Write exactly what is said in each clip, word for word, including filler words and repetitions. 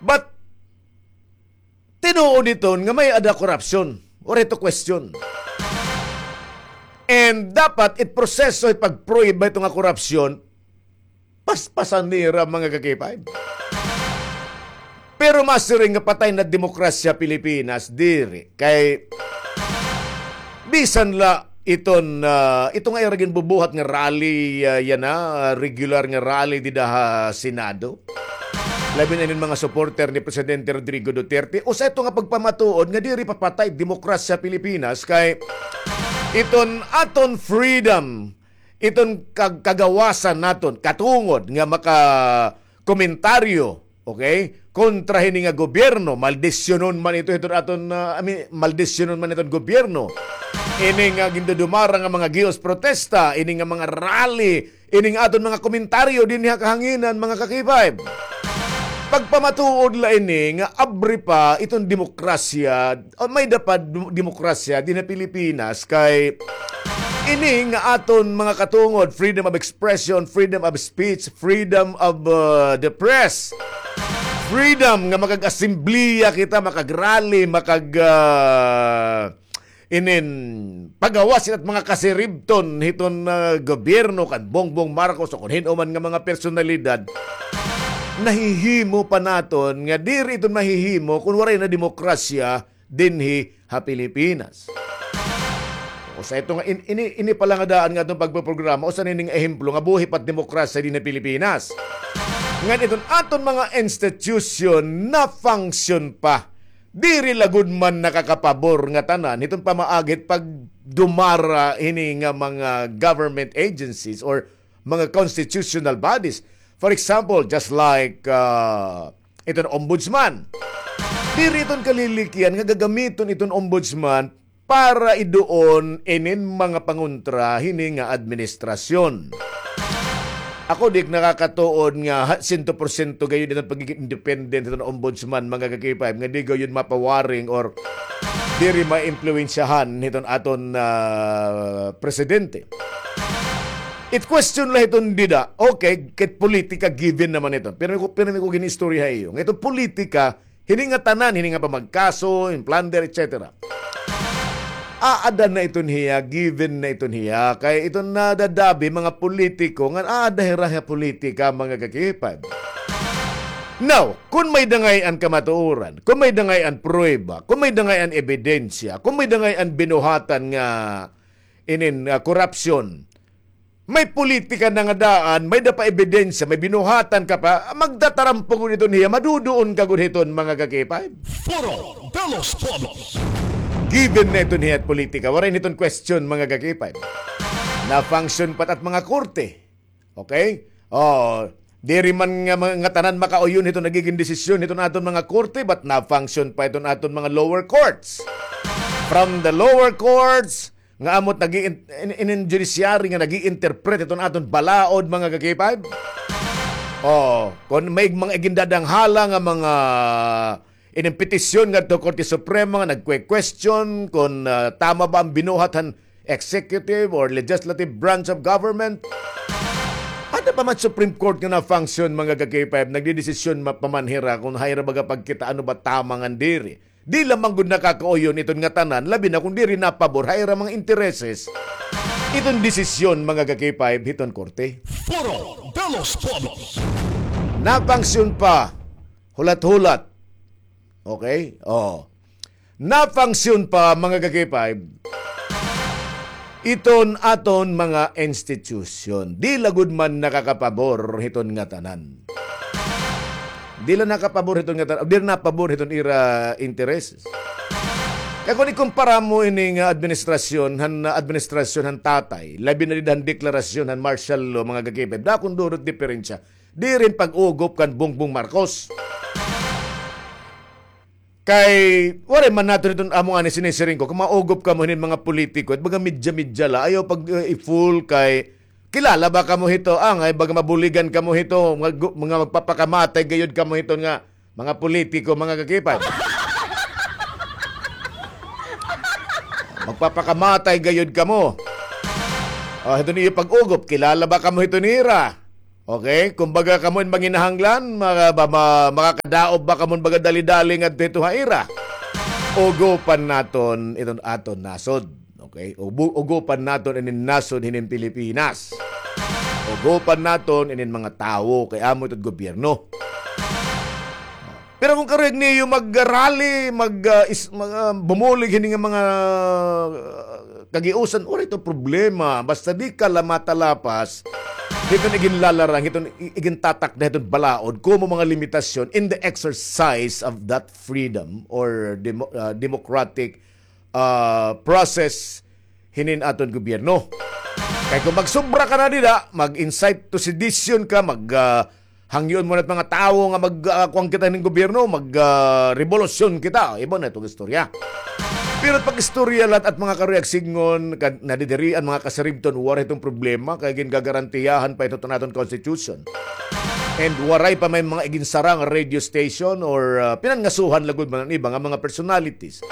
But, tinuod iton nga may-ada korupsyon. Waray ito question. And dapat it proseso, it pag-prove ba ito nga korupsyon, paspasan nira, mga ka-K five. Pero masiring nga patay na demokrasya Pilipinas, diri. Kay bisan la iton, ah, ito nga ira ginbubuhat nga rally, ah, yana, ah, regular nga rally dida ha Senado. Labi na inin mga supporter ni Presidente Rodrigo Duterte. Usa ito nga pagpamatuod nga diri pa patay demokrasya Pilipinas kay iton aton freedom, iton kag-, kagawasan naton, katungod nga maka-, komentaryo, okay? Kontra hini nga gobyerno, maldisyonon man ito hiton aton, ah, I mean, maldisyonon man iton gobyerno. Ini nga gindudumara nga mga gihos protesta, ini nga mga rally, ini nga aton mga komentaryo dinhi ha kahanginan, mga ka-K five. Pagpamatuod la ini nga abri pa iton demokrasya, o may-ada pa dem-, demokrasya dinhi ha Pilipinas kay ini nga aton mga katungod, freedom of expression, freedom of speech, freedom of, uh, the press, freedom nga makag-assemblea kita, makag-rally, makag, uh, inin pagawas it mga kasiribton hiton, uh, gobyerno kan Bongbong Marcos o kon hin-o man nga mga personalidad, nahihimo pa naton nga diri iton mahihimo kon waray na demokrasya dinhi ha Pilipinas. Usa ito nga in-, ini, ini pa la nga daan nga aton pagpoprograma, usa nini nga ehemplo nga buhi pa it demokrasya dinhi ha Pilipinas. Ngan iton aton mga institusyon na-function pa. Diri la gud man nakakapabor nga tanan hiton pamaagi hit pagdumara hini nga mga government agencies or mga constitutional bodies. For example, just like, uh, iton ombudsman. Diri iton kalilikyan nga gagamiton iton ombudsman para iduon inin mga pangontra hini nga administrasyon. Ako di nakakatuod nga ha-, sento porsyento gayod iton pagiging independent hiton ombudsman, mga ka-K five, nga di gayod mapawaring or diri maimpluwensyahan hiton aton, ah, presidente. It question la hiton dida, okay, kay politika given naman iton. Pero ko, pero ko gin-istorya ha iyo. Nga iton politika, hini nga tanan, hini nga pamagkaso, hin plunder, et cetera. Aada na iton hiya, given na iton hiya. Kay iton nadadabi, mga politiko, nga aada hira ha politika, mga ka-K five. Now, kon may-ada ngay-an kamatuoran, kon may-ada ngay-an pruweba, kon may-ada ngay-an ebidensya, kon may-ada ngay-an binuhatan nga inin, ah, korupsyon, may politika na nga daan, may-ada pa ebidensya, may binuhatan ka pa, magdatarampo gud iton hiya, maduduon ka gud hiton, mga ka-K five. Foro de los Pueblos. Given na iton hiya it politika, waray na iton question, mga ka-K five. Na-function pa it at mga korte. Okay? Oh, diri man nga, nga tanan makauyon hiton nagigin desisyon hiton aton mga korte, but na-function pa iton aton mga lower courts. From the lower courts, nga amo it nag-i-, in, in, in judiciary nga nag-i-interpret iton aton balaod, mga ka-K five. Oh, kon may mga igindadanghala nga mga inin petisyon ngadto Korte Suprema nga nagkwe-question kon, ah, tama ba an binuhat han executive or legislative branch of government. Ada pa man Supreme Court nga na-function, mga ka-K five, nagdedesisyon ma-, pa man hira kon haira baga pagkita ano ba tama ngan diri. Di la man gud nakakauyon iton nga tanan, labi na kon diri napabor haira mga intereses iton desisyon, mga ka-K five, hiton korte. Foro de los Pueblos. Na-function pa, hulat-hulat. Okay? Oh. Na-function pa, mga ka-K five, iton aton mga institusyon. Di la gud man nakakapabor hiton nga tanan. Di la nakapabor hiton nga tanan. Di la napabor hiton ira interes. Kay kon ikumpara mo ini nga administrasyon, han, administrasyon han tatay, labi na dida han deklarasyon han martial law, mga ka-K five, dako gud it diperensya. Diri hin pag-ugop kan Bongbong Marcos. Kay, waray man naton iton amo ngani sinisiring ko, kon maugop kamo hinin mga politiko, it baga media-media la, ayaw pag, uh, i-fool kay, kilala ba kamo hito, ah, nga baga mabuligan kamo hito, mga gu-, mga magpapakamatay gayod kamo hito nga, mga politiko, mga ka-K five. Magpapakamatay gayod kamo. Oh, hito niyo pag-ugop, kilala ba kamo hito nira? Okay? Kumbaga, kamo in manginahanglan, maka-, ba-, ma-, makakadaob ba kamo baga dali-dali ngadto hito ha ira? Ugopan naton iton aton nasod. Okay? Ubu-, ugopan naton inin nasod hinin Pilipinas. Ugopan naton inin mga tawo kay amo iton gobyerno. Pero kon karuyag niyo mag-rally, mag, ah, is-, mag, ah, bumulig hini nga mga, ah, kagiusan, waray ito problema. Basta di ka la matalapas hiton iginlalarang, hiton i-, igintatakda hiton balaod, komo mga limitasyon in the exercise of that freedom or demo-, ah, democratic, ah, process hinin aton gobyerno. Kay kon magsobra ka na dida, mag-incite to sedition ka, mag, ah, hangyoon mo na it mga tawo nga mag, ah, kuan kita hinin gobyerno, mag, ah, rebolusyon kita. Iba na iton istorya. Pero pag-istorya la it mga karuyag sidngon, kad-, nadidiri an mga kasaribton, waray iton problema, kay gingagarantiyahan pa ito iton aton constitution. And waray pa may mga iginsara nga radio station or, ah, pinangasuhan lagod man an iba nga mga personalities.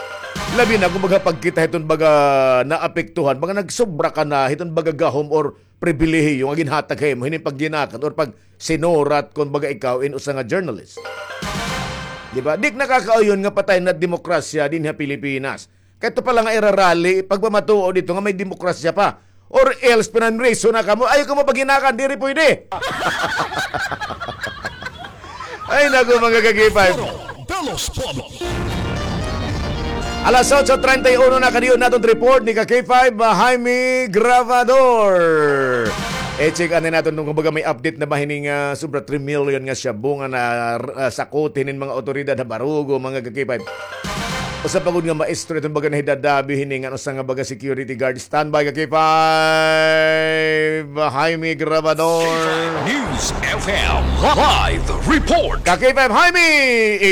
Labi na kon baga pagkita hiton baga naapektuhan, baga nagsobra ka na hiton baga gahom or pribilehiyo nga ginhatag ha imo hinin pagyinakan or pagsinurat kon baga ikaw in usa nga journalist. Di ba? Di nakakauyon nga patay na demokrasya dinhi ha Pilipinas. Kay ito pa la nga ira-rally, pagpamatuod ito nga may demokrasya pa. Or else, pinanriso na kamo. Ayaw kamo paghinakan, diri pwede. Ay, naku, mga ka-K five. Alas otso treinta y uno na, kadiyon naton report ni ka-K five, ah, Jaime Gravador. I-check anay naton kon kumbaga may update na ba hining, ah, sobra three million nga shabu nga na, ah, sakot hinin mga awtoridad ha Barugo, mga ka-K five. Usa pa gud nga maestro iton baga nahidadabi hini ngan usa nga baga security guard. Standby ka K five, Jaime Grabador. News F M live report. Ka K five Jaime,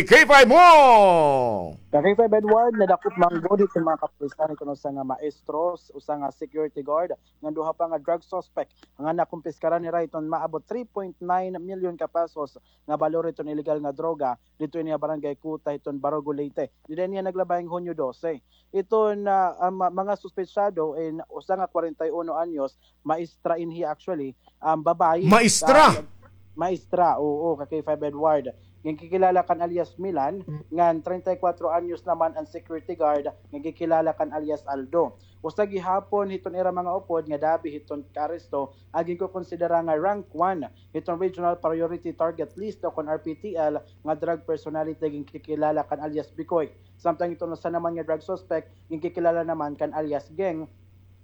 i-K five mo. Ka K five Edward, nadakop man gud hiton mga kapulisan hiton usa nga maestro, usa nga security guard, ngan duha pa nga drug suspect nga nakumpiskaran nira hiton maabot three point nine million ka pesos nga balor hiton illegal nga droga didto ini ha Barangay Kuta hiton Barugo, Leyte. Dida niya naglabay nga Hunyo dose. Iton, ah, ah, ma-, mga suspetsado in usa nga kwarenta y uno anyos, maestra ini actually, um, babayi. Maestra? Ah, maestra, oo, ka K five Edward. Ginkikilala kan alias Milan, ngan treinta y cuatro anyos naman an security guard, nga ginkikilala kan alias Aldo. Usa gihapon hiton ira mga upod nga dabi hiton kaaresto, an ginkokonsidera nga rank one hiton Regional Priority Target List o kon R P T L nga drug personality, ginkikilala kan alias Bikoy. Samtang iton usa naman nga drug suspect, ginkikilala naman kan alias Geng,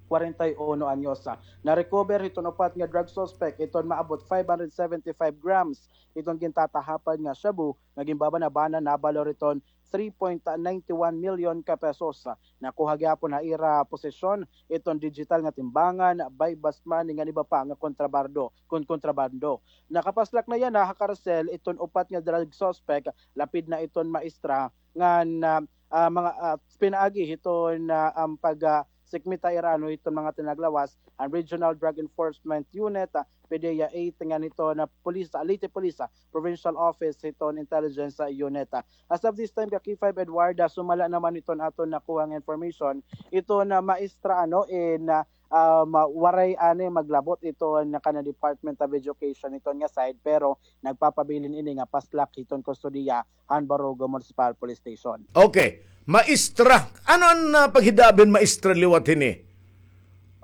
kwarenta y uno anyos. Na-recover hiton upat nga drug suspect iton maabot five hundred seventy-five grams iton gintatahapad nga shabu nga ginbabana-bana nabalor iton three point nine one million ka pesos. Nakuha gihapon ha ira posesyon iton digital nga timbangan, buy bust money ngan iba pa nga kontrabando, kon kontrabando. Nakapaslak na yana ha karsel iton upat nga drug suspect, lapid na iton maestra ngan, ah, ah, mga, ah, pinaagi hiton, ah, an pag, ah, sikmita ira ano hiton mga tinaglawas, an Regional Drug Enforcement Unit, ah, PDEA eight, ngan hiton, ah, Police, ah, Leyte Police, ah, Provincial Office hiton Intelligence, ah, Unit. Ah, as of this time, ka K five Edward, ah, sumala naman hiton aton nakuha nga information, iton maestra, ano, in, ah, um, waray ani maglabot iton kanan Department of Education hiton nga side, pero nagpapabilin ini nga paslak hiton kustodiya han Barugo Municipal Police Station. Okay. Maestra. Ano an, ah, paghidabi hin maestra liwat hini?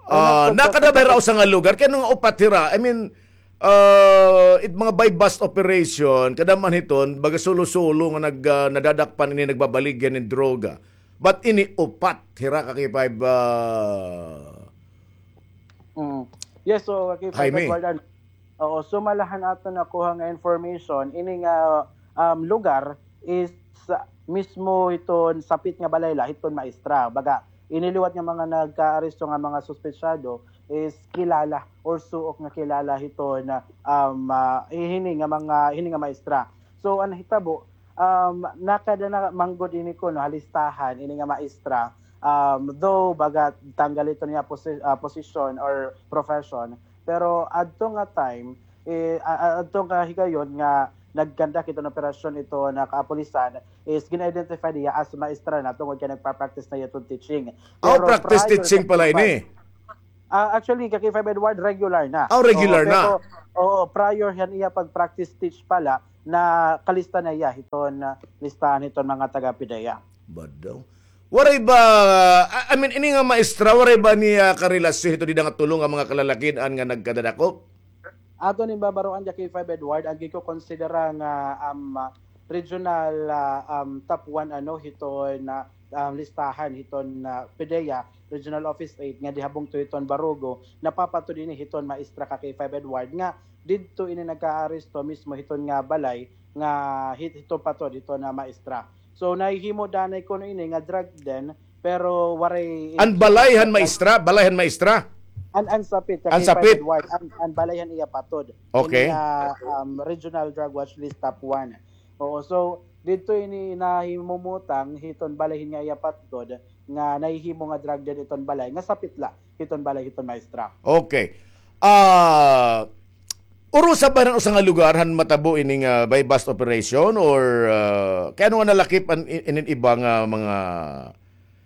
Ah, nakada ba hira usa nga lugar? Kay ano nga upat hira? I mean, ah, it mga buy bust operation, kadam-an hiton, baga sulo-sulo nga nag-, ah, nadadakpan ini, nagbabaligya hin droga. But ini upat hira ka K five, ah, Mm. Yes, so, ka K five Jaime. Edward, ano, oo, sumala han aton nakuha nga information, ini nga, um, lugar is, ah, mismo hiton sapit nga balay la hiton maestra. Baga, ini liwat nga mga nagkaaresto nga mga suspetsado is kilala or suok nga kilala hiton, um, ah, hini nga mga, hini nga maestra. So, an hitabo, um, nakada na man gud ini kuno ha listahan, ini nga maestra. Um, though, baga, tanggal iton iya posi-, ah, posisyon or profession. Pero adto nga time, eh, a-, a-, adto nga higayon nga nagkandak iton operasyon iton kapulisan, is gin-identify niya as maestra na tungod kay nagpa-practice na iya iton teaching. Oh, pero practice prior teaching sa pala ini. Ah, actually, ka K five Edward, regular na. Ah, regular Oo, na. Pero, oo, prior han iya pag-practice teach pala, nakalista na iya hiton, ah, listahan hiton mga taga-PDEA. Badaw. Waray ba, I, I mean, ini nga maestra, waray ba niya karelasyon hito dida nga tulo nga mga kalalakin-an nga nagkadadakop? Aton ginbabaroan dya K five Edward, an ginkokonsidera nga, um, regional, ah, um, top one, ano, hiton, ah, um, listahan hiton, ah, PDEA, Regional Office eight, nga diha bungto hiton Barugo, napapatod ini hiton maestra ka K five Edward, nga didto ini nagkaaresto mismo hiton nga balay, nga hit-, hito patod hiton nga maestra. So, nahihimo danay kuno ini nga drug den, pero waray An balay han maestra? Balay han maestra? An, an sapit, ka An K five sapit? Edward, an, an balay han iya patod. Okay. Ini nga, um, regional drug watch list top one. Oo, so, didto ini nahimumutang hiton balay hin nga iya patod, nga nahihimo nga drug den iton balay, nga sapit la hiton balay hiton maestra. Okay. Ah, urusa ba han usa nga lugar han matabo ini nga buy-bust operation or, ah, kay ano nga nalakip an i-, inin iba nga mga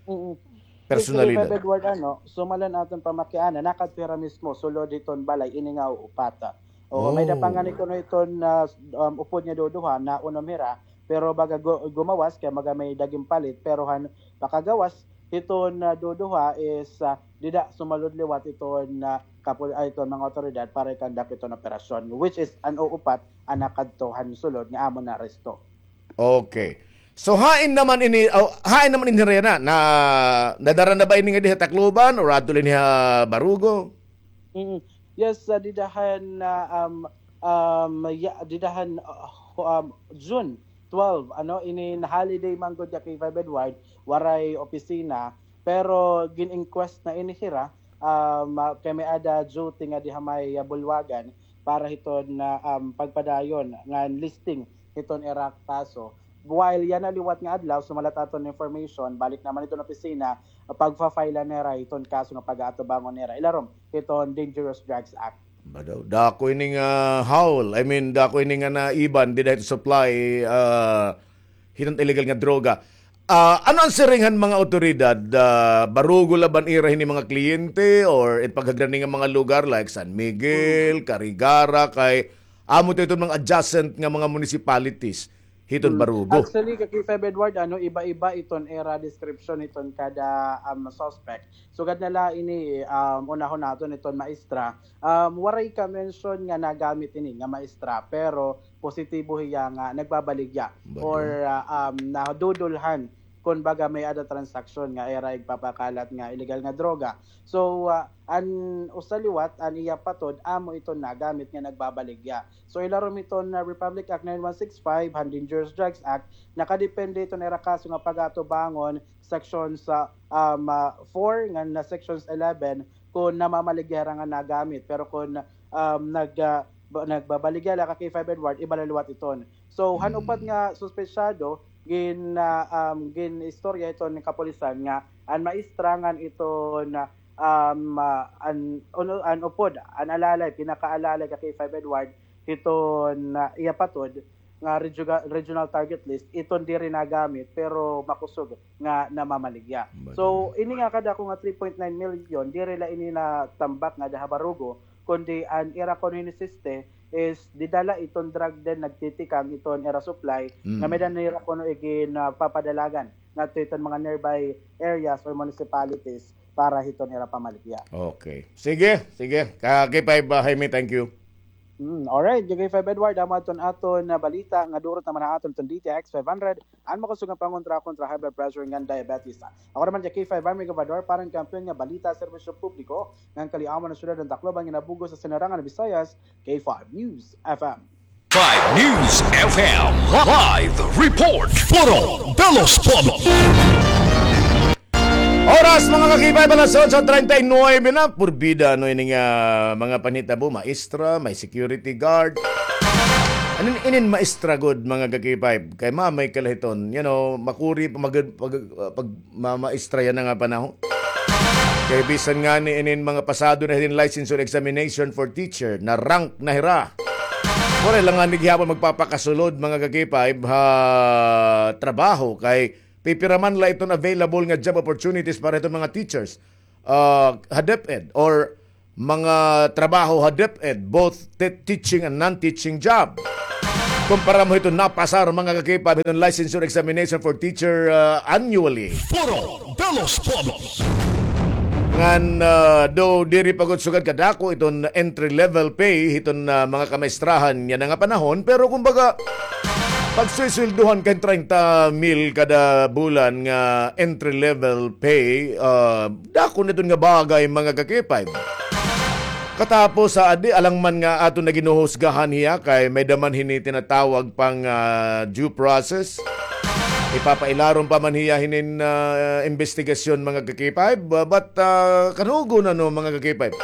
Mm. personalidad? Yes, K five Edward, ano, sumalan aton pamakiana, nakadto hira mismo, sulod hiton balay, ini nga upat. Oo, may Oh. dapangan ni kuno iton, ah, um, upod nga duduha, naunom hira, pero baga gu-, gumawas, kay baga may dagim palit, pero han pakagawas, hiton, ah, duduha is, ah, dida sumalod liwat iton, ah, kapul-, ah, iton mga awtoridad para i-conduct iton operasyon, which is an uupat an nakadto han sulod nga amo naaresto. Okay. So, hain naman ini, oh, hain naman ini, Rena? Na, nadara na ba ini nga diha Tacloban or adto la ini ha Barugo? Mm. Yes, ah, dida han, ah, um, um, ya-, dida han, ah, um, June twelve, ano, ini na holiday man gud ya K five Edward, waray opisina, pero gin-inquest na ini hira, um, ah, kay may-ada duty nga diha may, ah, bulwagan para hiton, ah, um, pagpadayon ngan listing hiton ira kaso. While yana liwat nga adlaw, sumalat aton information, balik naman hiton opisina, pagfa-file nira hiton kaso nga pag-aatubangon nira ilarom hiton Dangerous Drugs Act. Ba daw, dako ini nga haul. I mean, dako ini nga naiban dida hit supply, ah, hiton illegal nga droga. Ah, ano an siring han mga awtoridad? Ah, barugo la ba an ira hini mga kliyente or it paghagrani nga mga lugar like San Miguel, Carigara, kay amo to iton mga adjacent nga mga municipalities hiton Mm. Barugo? Actually, ka K five Edward, ano, iba-iba iton ira description iton kada, um, suspect. Sugad na la ini, um, unahon naton iton maestra. Um, waray ka-mention nga nagamit ini nga maestra, pero positibo hiya nga nagbabaligya Baga. or, ah, um, nadudulhan kon baga may-ada transaksyon nga ira igpapakalat nga illegal nga droga. So, ah, an usa liwat, an iya patod, amo iton nagamit nga nagbabaligya. So, ilarom iton, ah, Republic Act nine one six five, han Dangerous Drugs Act, nakadepende iton ira kaso nga pag-aatubangon, sections, ah, um, ah, four ngan, ah, sections eleven, kon namamaligya hira nga nagamit. Pero kon, um, nag-, ah, ba-, nagbabaligya la ka K five Edward, iba la liwat iton. So, han Mm. upat nga suspetsado, gin-, ah, um, gin-istorya iton kapulisan nga an maestra ngan iton, ah, um, ah, an, uno, an upod, an alalay, pinakaalalay ka K five Edward, hiton, ah, iya patod nga regiona-, regional target list, iton diri nagamit, pero makusog nga namamaligya. Baga. So, ini nga kadako nga three point nine million, diri la ini natambak nga daha Barugo, kundi an ira kuno hinisiste is dida la iton drug den nagtitikang iton ira supply, Mm. nga may-ada nira kuno igin, ah, papadalagan ngadto iton mga nearby areas or municipalities para hiton ira pamaligya. Okay. Sige, sige. Ka K five, ah, Jaime, thank you. Mm, alright, K five Edward, amo adton aton, ah, balita nga durot naman ha aton iton D T X five hundred, an makusog nga pangontra kontra high blood pressure ngan diabetes. Ako naman, K five Army Gobernador, para han kampiyon nga balita, serbisyo publiko, ngan kaliawan han syudad han Tacloban nga nabugo sa Sinirangan Visayas, K five News F M. Five News F M live report. Puro Belos Polo. Oras, mga ka-K five, alas otso treinta y nueve na. Purbida, ano, ini nga mga panhitabo, maestra, may security guard. Anin, inin maestra gud, mga ka-K five? Kay mamay kalahiton, you know, makuri pa mag-, pag-, pag-, ma-, maestra yana nga panahon. Kay bisan ngani inin mga pasado na hinin licensure examination for teacher, na-rank na hira. Waray la ngani gihapon magpapakasulod, mga ka-K five, ha trabaho, kay pipira man la iton available nga job opportunities para hiton mga teachers, ah, ha DepEd or mga trabaho ha DepEd, both te- teaching and non-teaching job. Kumpara mo hiton napasar, mga ka-K five, hiton licensure examination for teacher, ah, annually. Foro de los Pueblos. Ngan, ah, do diri pa gud sugad kadako iton entry level pay hiton, ah, mga kamaestrahan yana nga panahon, pero kumbaga, pagsuysweldohan kay treinta mil kada bulan nga entry level pay, ah, dako na iton nga bagay, mga ka-K five. Katapos sa adi, alang man nga aton na ginuhusgahan hiya kay may-ada man hini tinatawag pang, ah, due process. Ipapailarom pa man hiya hinin, ah, investigasyon, mga ka-K five. Ah, but, ah, kanugon, ano, mga ka-K five?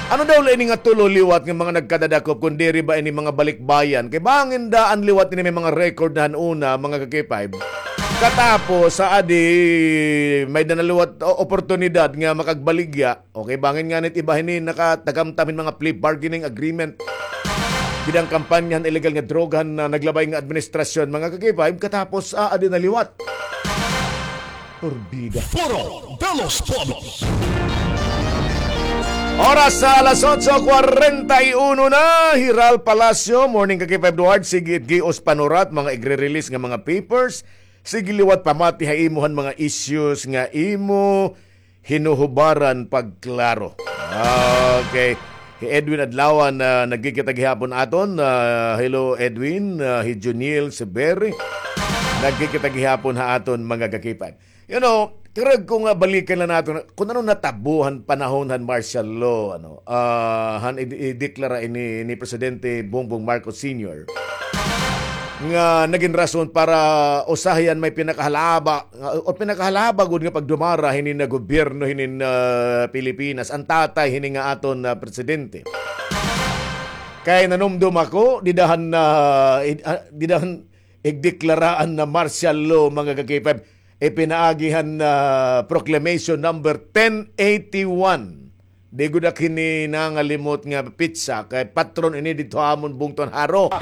Ano daw la ini nga tulo liwat nga mga nagkadadakop, kun diri ba ini mga balikbayan? Kay bangin daan liwat ini may mga record na han una, mga ka-K five. Katapos, sa adi, may-ada na liwat o- oportunidad nga makagbaligya. Okay, bangin nganit iba hini nakatagamtam hin mga plea bargaining agreement. Gidang kampanya han illegal nga droga han, ah, naglabay nga administrasyon, mga ka-K five, katapos, ah, adi na liwat. Porbida. Foro de los Pueblos. Oras sa alas otso kwarenta y uno na. Hiral Palacio, morning, ka-K five Duarte. Sige, gios panurat, mga igre-release nga mga papers. Sige liwat pamati ha imo han mga issues nga imo hinuhubaran pagklaro. Okay. Hi Edwin Adlawan, ah, nagkikita gihapon aton. Ah, hello, Edwin. Ah, hi Juniel Severi. Nagkikita gihapon ha aton, mga ka-K five. You know, karag ko nga balikan la naton kun ano natabo han panahon han martial law, ano, ah, han i- ideklara ini ni Presidente Bongbong Marcos Senior nga nagin rason para usahay an may pinakahalaba, nga- o pinakahalaba gud nga pagdumara hinin nga gobyerno hinin, ah, Pilipinas, an tatay hini nga aton, ah, presidente. Kay nanumdom ako, dida han, ah, id- ah, dida han igdeklara an, ah, martial law, mga ka-K five, ipinaagi han, ah, Proclamation number ten eighty-one. Di gud ak hini nangalimot nga petsa, kay patron ini didto ha amon bungto han Jaro.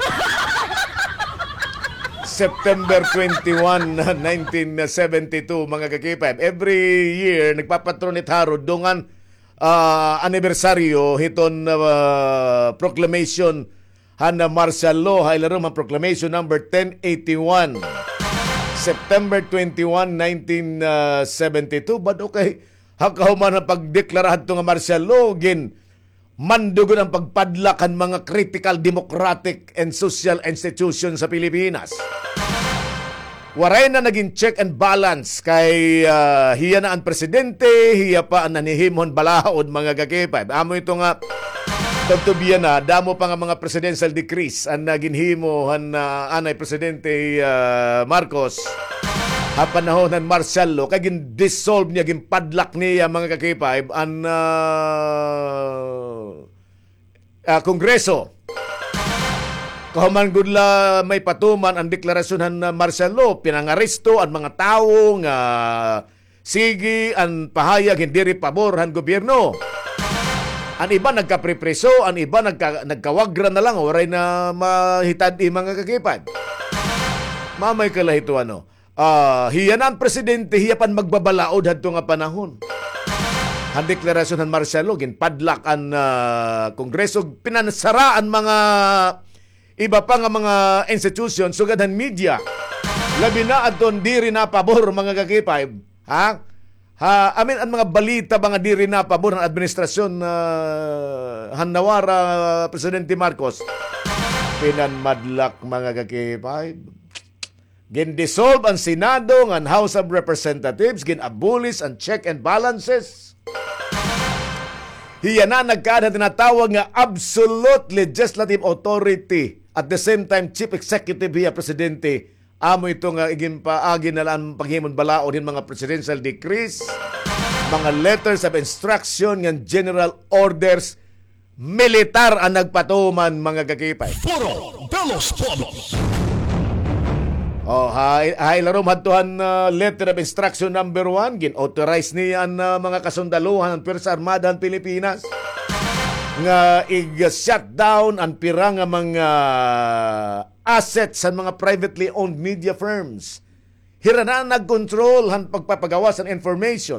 September twenty-one, nineteen seventy-two, mga ka-K five. Every year, nagpapatron it Jaro, dungan, ah, anibersaryo hiton, ah, proclamation han, ah, martial law, ha ilarom han Proclamation number ten eighty-one. September twenty-one, nineteen seventy-two. But okay, ha kahuman han pagdeklara hadto nga martial law, ginmando gud an pagpadlak han mga critical democratic and social institution sa Pilipinas. Waray na nagin check and balance kay, ah, hiya na an presidente, hiya pa an nanhihimo han balaod, mga ka-K five. Amo ito nga tugtubyan na, damo pa nga mga presidential decrees an, ah, ginhimo han, ah, anay presidente, ah, Marcos ha panahon han martial law, kay gin-dissolve niya, ginpadlak niya, mga ka-K five, an, ah, ah, Kongreso. Kahuman gud la may patuman an deklarasyon han, ah, martial law, pinangaresto an mga tawo nga sige an pahayag hin diri pabor han gobyerno. An iba nagkapripriso, an iba nagka-, nagkawagra na lang, waray na mahitad-i, mga ka-K five. Mamay ka la hito, ano. Ah, hiya na an presidente, hiya pa an magbabalaod hadto nga panahon. Han deklarasyon han martial law, ginpadlak an, ah, Kongreso, pinansara an mga iba pa nga mga institution, sugad han media. Labi na adton diri napabor, mga ka-K five, ha? Ha, I mean, an mga balita ba nga diri napabor han administrasyon, ah, han nawara, Presidente Marcos, pinanmadlak, mga ka-K five. Gin-dissolve an Senado ngan House of Representatives, gin-abolish an check and balances. Hiya na nagkaada han tinatawag nga absolute legislative authority. At the same time, chief executive hiya, presidente. Amo ito nga iginpaagi na la an paghimo hin balaod hin mga presidential decrees, mga letters of instruction, ngan general orders. Militar an nagpatuman, mga ka-K five. Foro de los Pueblos. Oh, ha, ha ilarom hadto han, ah, letter of instruction number one, gin-authorize niya an, ah, mga kasundaluhan han Pwersa Armada han Pilipinas nga ig-shutdown an pira nga mga assets han mga privately owned media firms. Hira na an nagkontrol han pagpapagawas han information.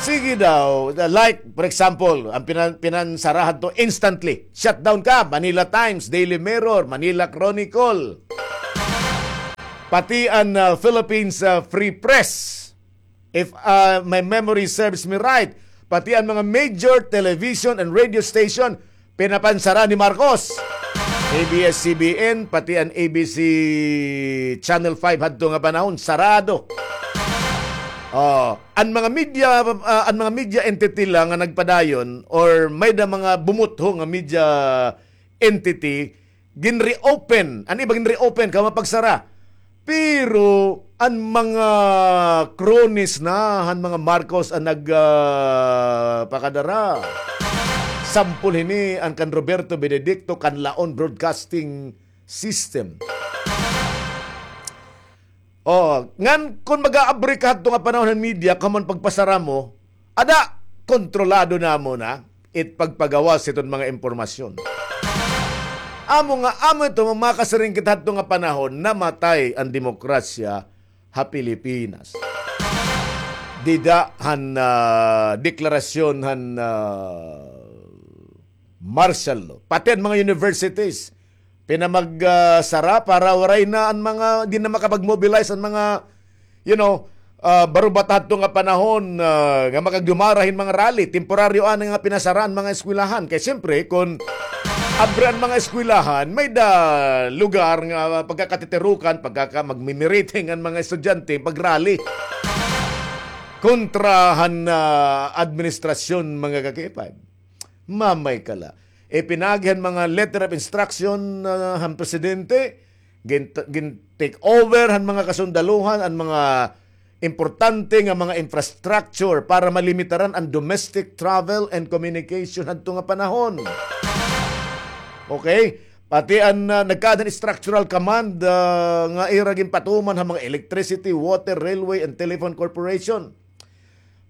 Sige daw, like, for example, an pinan-, pinansara hadto instantly. Shutdown ka, Manila Times, Daily Mirror, Manila Chronicle. Pati an, ah, Philippines, ah, Free Press. If, ah, my memory serves me right, pati an mga major television and radio station, pinapansara ni Marcos. A B S C B N, pati an A B C Channel five hadto nga panahon, sarado. Oh, an mga media, ah, an mga media entity la nga nagpadayon or may-ada mga bumutho nga media entity, ginreopen. An iba ginreopen, kay mapagsara. Pero an mga cronies na han mga Marcos an nag, ah, pakadara. Sampol hini an kan Roberto Benedicto, Kanlaon Broadcasting System. Oh, ngan kon mag-aabri ka hadto nga panahon han media, kamo an pagpasara mo, ada, kontrolado namon na it pagpagawas hiton mga impormasyon. Amo nga, amo ito, makasiring kita hadto nga panahon, namatay an demokrasya ha Pilipinas. Dida han, ah, deklarasyon han, ah, martial law. Pati an mga universities, pinamag, ah, sara para waray na an mga, di na makapag-mobilize an mga, you know, ah, barubata hadto nga panahon, ah, nga makagdumara hin mga rally. Temporaryo anay nga pinasara an mga eskwelahan. Kay siyempre, kon abri an mga eskwelahan, may-ada lugar nga pagkakatitirukan, pagkaka-, magmi-meeting an mga estudyante, pag-rally kontra han, ah, administrasyon, mga ka-K five. Mamay ka la. Ipinagi han mga letter of instruction, ah, han presidente, gin-, gin-take over han mga kasundaluhan, an mga importante nga mga infrastructure para malimitaran an domestic travel and communication hadto nga panahon. Okay? Pati an, ah, nagkaada han structural command, ah, nga ira ginpatuman ha mga electricity, water, railway, and telephone corporation.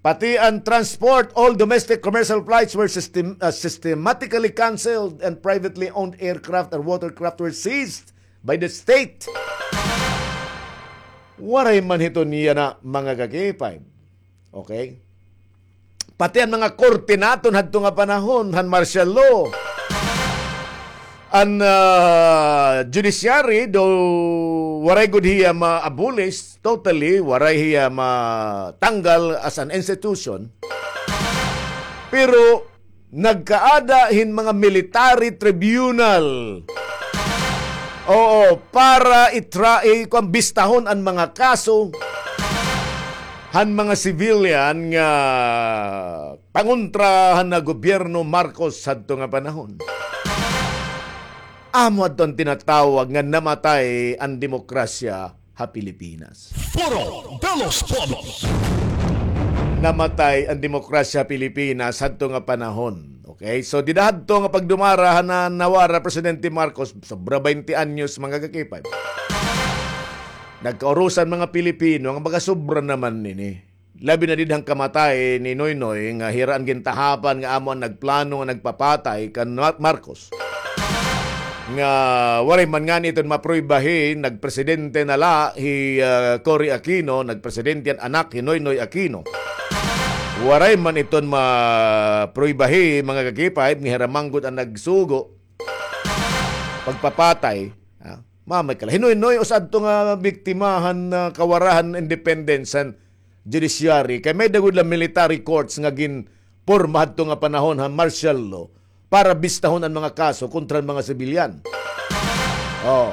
Pati an transport, all domestic commercial flights were system-, ah, systematically canceled and privately owned aircraft and watercraft were seized by the state. Waray man hiton yana, mga ka-K five. Okay? Pati an mga korte naton hadto nga panahon, han martial law. An, ah, judiciary, though waray gud hiya ma-abolish totally, waray hiya matanggal as an institution, pero nagkaada hin mga military tribunal. Oo, para itra-, i-, kuwan, bistahon an mga kaso han mga civilian nga pangontra han gobyerno Marcos hadto nga panahon. Amo adto an tinatawag nga namatay an demokrasya ha Pilipinas. Foro de los Pueblos. Namatay an demokrasya ha Pilipinas hadto nga panahon. Okay? So, dida hadto nga pagdumara han nawara Presidente Marcos, sobra baynte anyos, mga ka-K five. Nagkaurusan mga Pilipino, nga baga sobra naman ini. Labi na dida han kamatay ni Noynoy nga hira an gintahapan nga amo an nagplano nga nagpapatay kan Mar-, Marcos. Nga waray man ngani iton maprueba hi nagpresidente na la hi, ah, Cory Aquino, nagpresidente an anak hi Noynoy Aquino. Waray man iton maprueba hi mga ka-K five nga hira man gud an nagsugo pagpapatay, ah, mamay ka la. Hi Noynoy usa adto nga biktima han, ah, kawara han independence han judiciary, kay may-ada gud la military courts nga ginporma hadto nga panahon han martial law para bistahon an mga kaso kontra an mga sibilyan. Oh.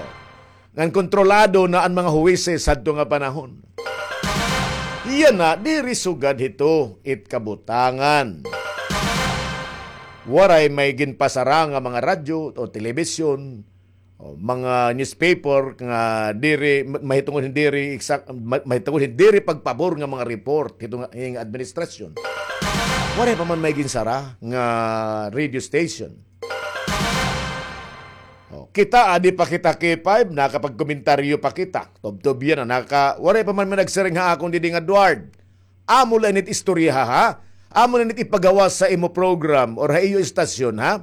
Ngan kontrolado na an mga huwises hadto nga panahon. Yana, diri sugad hito it kabutangan. Waray may ginpasara nga mga radyo o telebisyon, o mga newspaper nga diri, ma-, mahitungod hin diri eksak-, ma-, mahitungod hin diri pagpabor nga mga report hito nga, nga administrasyon. Waray pa man may ginsara nga radio station. O, kita, adi pa kita K five, nakapagkomentaryo pa kita. Tubtob yana, naka-, waray pa man may nagsiring ha akon didi nga, "Duard, amo la ini it istorya, ha? Amo la ini it ipagawas sa imo program or ha iyo istasyon, ha?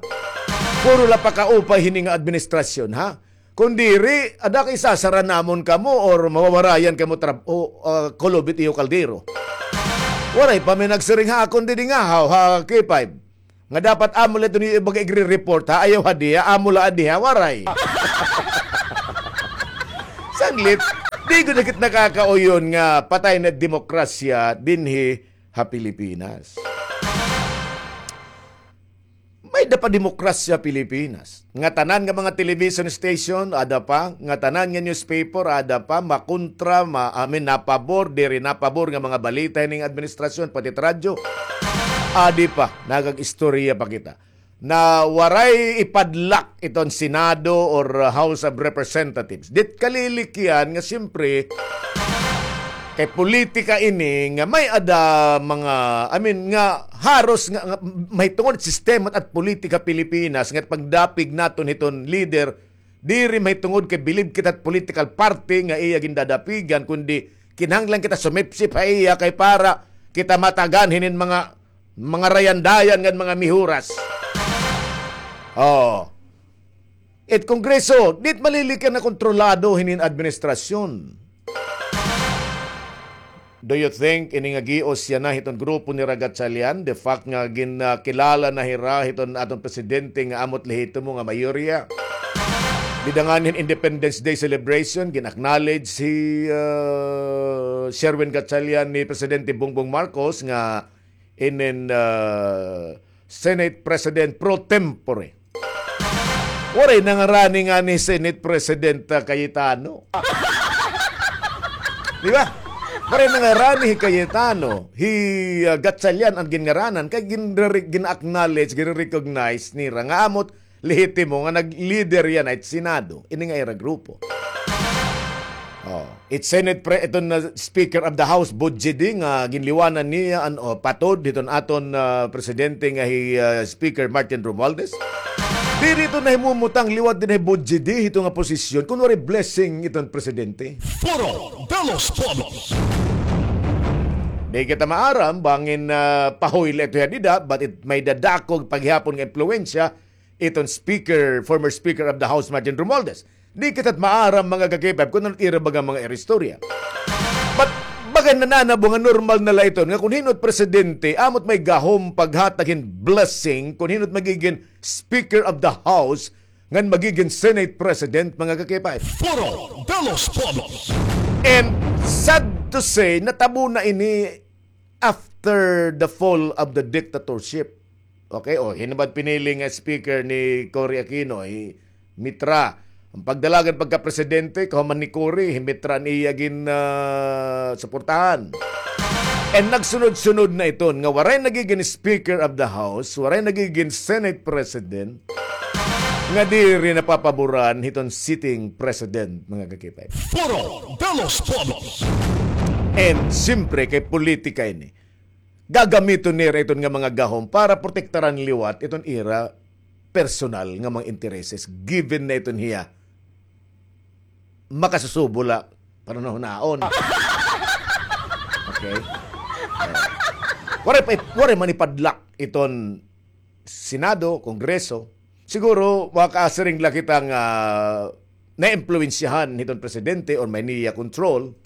Puro la pakaupay hini nga administrasyon, ha? Kon diri, ada ka isasara namon kamo or mawawarayan kamo trab-, o, ah, kulop it iyo kaldero." Waray pa may nagsiring ha akon didi nga, ha, ha K five. Nga dapat amo la ito niyo ibaga igre-report, ha? Ayaw ha diha, amo la adiha, waray. Sanglit, di gud na kit nakakauyon nga patay na demokrasya dinhi ha Pilipinas. May-ada pa demokrasya Pilipinas. Nga tanan nga mga television station, ada pa. Nga tanan nga newspaper, ada pa. Makontra, ma, I mean, napabor, diri napabor nga mga balita hining administrasyon, pati it radyo. Adi pa, nagag-istorya pa kita. Na waray ipadlak iton Senado or, uh, House of Representatives. Dit kalilikyan nga siyempre, kay politika ini nga may-ada mga, I mean, nga haros nga, nga mahitungod sistema at politika Pilipinas nga pagdapig naton hiton leader, diri mahitungod kay bilib kita political party nga iya gindadapigan, kundi kinahanglan kita sumipsip ha iya kay para kita matagan hinin mga, mga rayandayan ngan mga mihuras. Oh. It Kongreso, dit malilikyan na kontrolado hinin administrasyon. Do you think ini nga gios yana hiton grupo nira Gatchalian? The fact nga gin, ah, kilala na hira hiton aton presidente nga amo it lehitimo nga mayorya. Dida ngani hin Independence Day celebration, gin-acknowledge hi, ah, Sherwin Gatchalian ni Presidente Bongbong Marcos nga inin, ah, Senate President pro tempore. Waray nangarani ngani Senate President, ah, Cayetano. Di ba? Waray nangarani hi Cayetano, hi, ah, Gatchalian an ginngaranan, kay ginre-, gin-acknowledge, gin-recognize nira nga amo it lehitimo nga nag-leader yana it Senado, ini nga ira grupo. Oh, it Senate pre-, iton na Speaker of the House, Bujidi, nga ginliwanan niya an, oh, patod hiton aton, ah, presidente nga hi, ah, Speaker Martin Romualdez. Diri ito nahimumutang liwat dinhi hi Bujidi hito nga posisyon kun waray blessing iton presidente. Foro de los Pueblos. Di kita maaram bangin, ah, pahoy la ito hiya dida, but it may-ada dako pa gihapon nga impluwensya iton speaker, former speaker of the House, Martin Romualdez. Di kita maaram, mga ka-K five, kun ano it ira baga mga ira istorya. But, baga nananabo nga normal na la iton, nga kun hin-o it presidente, amo it may gahom paghatag hin blessing, kun hin-o it magigin speaker of the House, ngan magigin Senate President, mga ka-K five. Foro de los Pueblos. And sad to say, natabo na ini after the fall of the dictatorship. Okay, o, hin-o ba it pinili nga speaker ni Cory Aquino, hi Mitra. An pagdalagan pagka-presidente, kahuman ni Cory, hi Mitra an iya gin, ah, suportahan. And nagsunod-sunod na iton, nga waray nagigin Speaker of the House, waray nagigin Senate President, nga diri napapaboran hiton sitting President, mga ka-K five. Foro de los Pueblos. And, siyempre, kay politika ini. Gagamiton nira iton nga mga gahom para protektaran liwat iton ira personal nga mga intereses, given na iton hiya makasusubo la para nahunaon. Okay? Eh, waray pa, waray man ipadlak iton Senado, Kongreso. Siguro, makasiring la kita nga naimpluwensyahan hiton presidente or may niya control.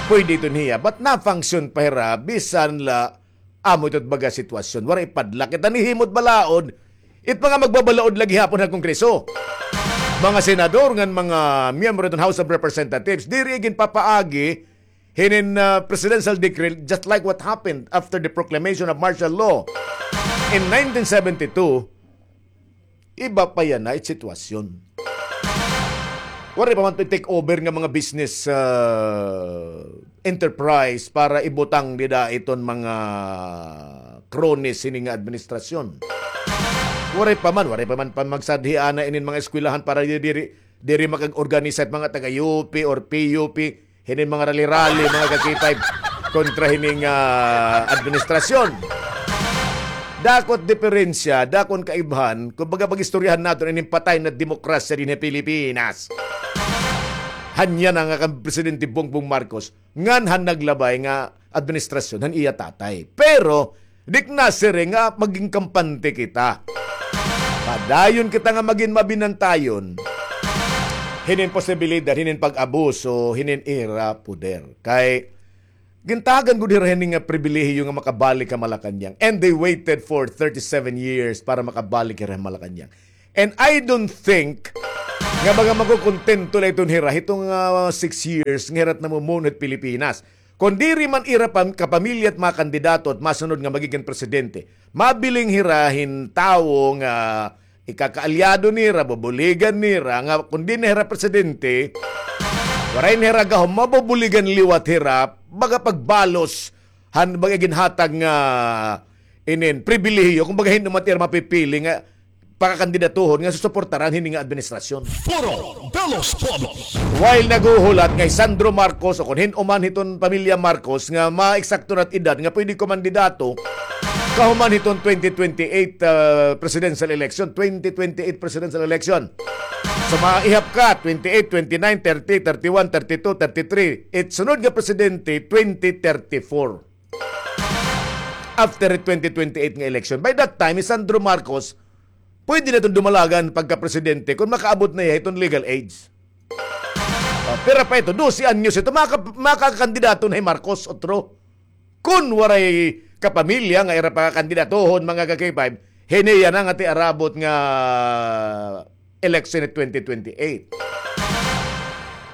Pwede iton hiya. But na-function pa hira, bisan la amo ito baga sitwasyon. Waray ipadlak. Kita nahimo it balaod, it mga magbabalaod la gihapon ha Kongreso. Mga senador ngan mga miyembro hiton House of Representatives, diri ginpapaagi hinin, ah, presidential decree, just like what happened after the proclamation of martial law in nineteen seventy-two, iba pa yana it sitwasyon. Waray pa man take over nga mga business, ah, enterprise para ibutang dida iton mga cronies hini nga administrasyon. Waray pa man, waray pa man pa magsadhi ana inin mga eskwelahan para diri, diri makag-organisa it mga taga U P or P U P. Hinin mga rally-rally, mga ka-K five, kontra hining, ah, administrasyon. Dako it diperensya, dako an kaibhan, kumbaga pag-istoryahan naton ining patay na demokrasya dinhi ha Pilipinas. Han yana nga kan Presidente Bongbong Marcos, ngan han naglabay nga administrasyon, han iya tatay. Pero, di ko nasiring nga magin kampante kita. Padayon kita nga magin mabinantayon hinin posibilidad, hinin pag-abuso, hinin ira poder. Kay, Gintagan gud hira hini nga pribilehiyo nga makabalik ha Malacañang. And they waited for thirty-seven years para makabalik hira ha Malacañang. And I don't think nga baga makukontento la iton hira hiton, ah, six years nga hira it namumuno hit Pilipinas. Kon diri man ira pam-, kapamilya it mga kandidato it masunod nga magigin presidente, mabiling hira hin tawo nga ikakaalyado nira, bubuligan nira, nga kon diri na hira presidente, waray na hira gahom, mabubuligan liwat hira, baga pagbalos han baga ginhatag nga inin pribilehiyo, kon baga hin-o man it ira mapipili nga pakakandidatuhon nga susuportaran hini nga administrasyon. Foro de los Pueblos. While naghuhulat nga hi Sandro Marcos o kon hin-o man hiton pamilya Marcos nga maeksakto na it edad nga pwede kumandidato kahuman hiton twenty twenty-eight, ah, presidential election, twenty twenty-eight presidential election. So, maihap ka, twenty-eight, twenty-nine, thirty, thirty-one, thirty-two, thirty-three. It sunod nga presidente, twenty thirty-four. After twenty twenty-eight nga election. By that time, hi Sandro Marcos, pwede na iton dumalagan pagka-presidente kon makaabot na hiya hiton legal age. O, pira pa ito? Dose anyos ito. Maka-, makakandidato na hi Marcos, otro. Kon waray kapamilya nga ira pakakandidatohon, mga ka-K five, hini yana nga it arabot nga election ni twenty twenty-eight.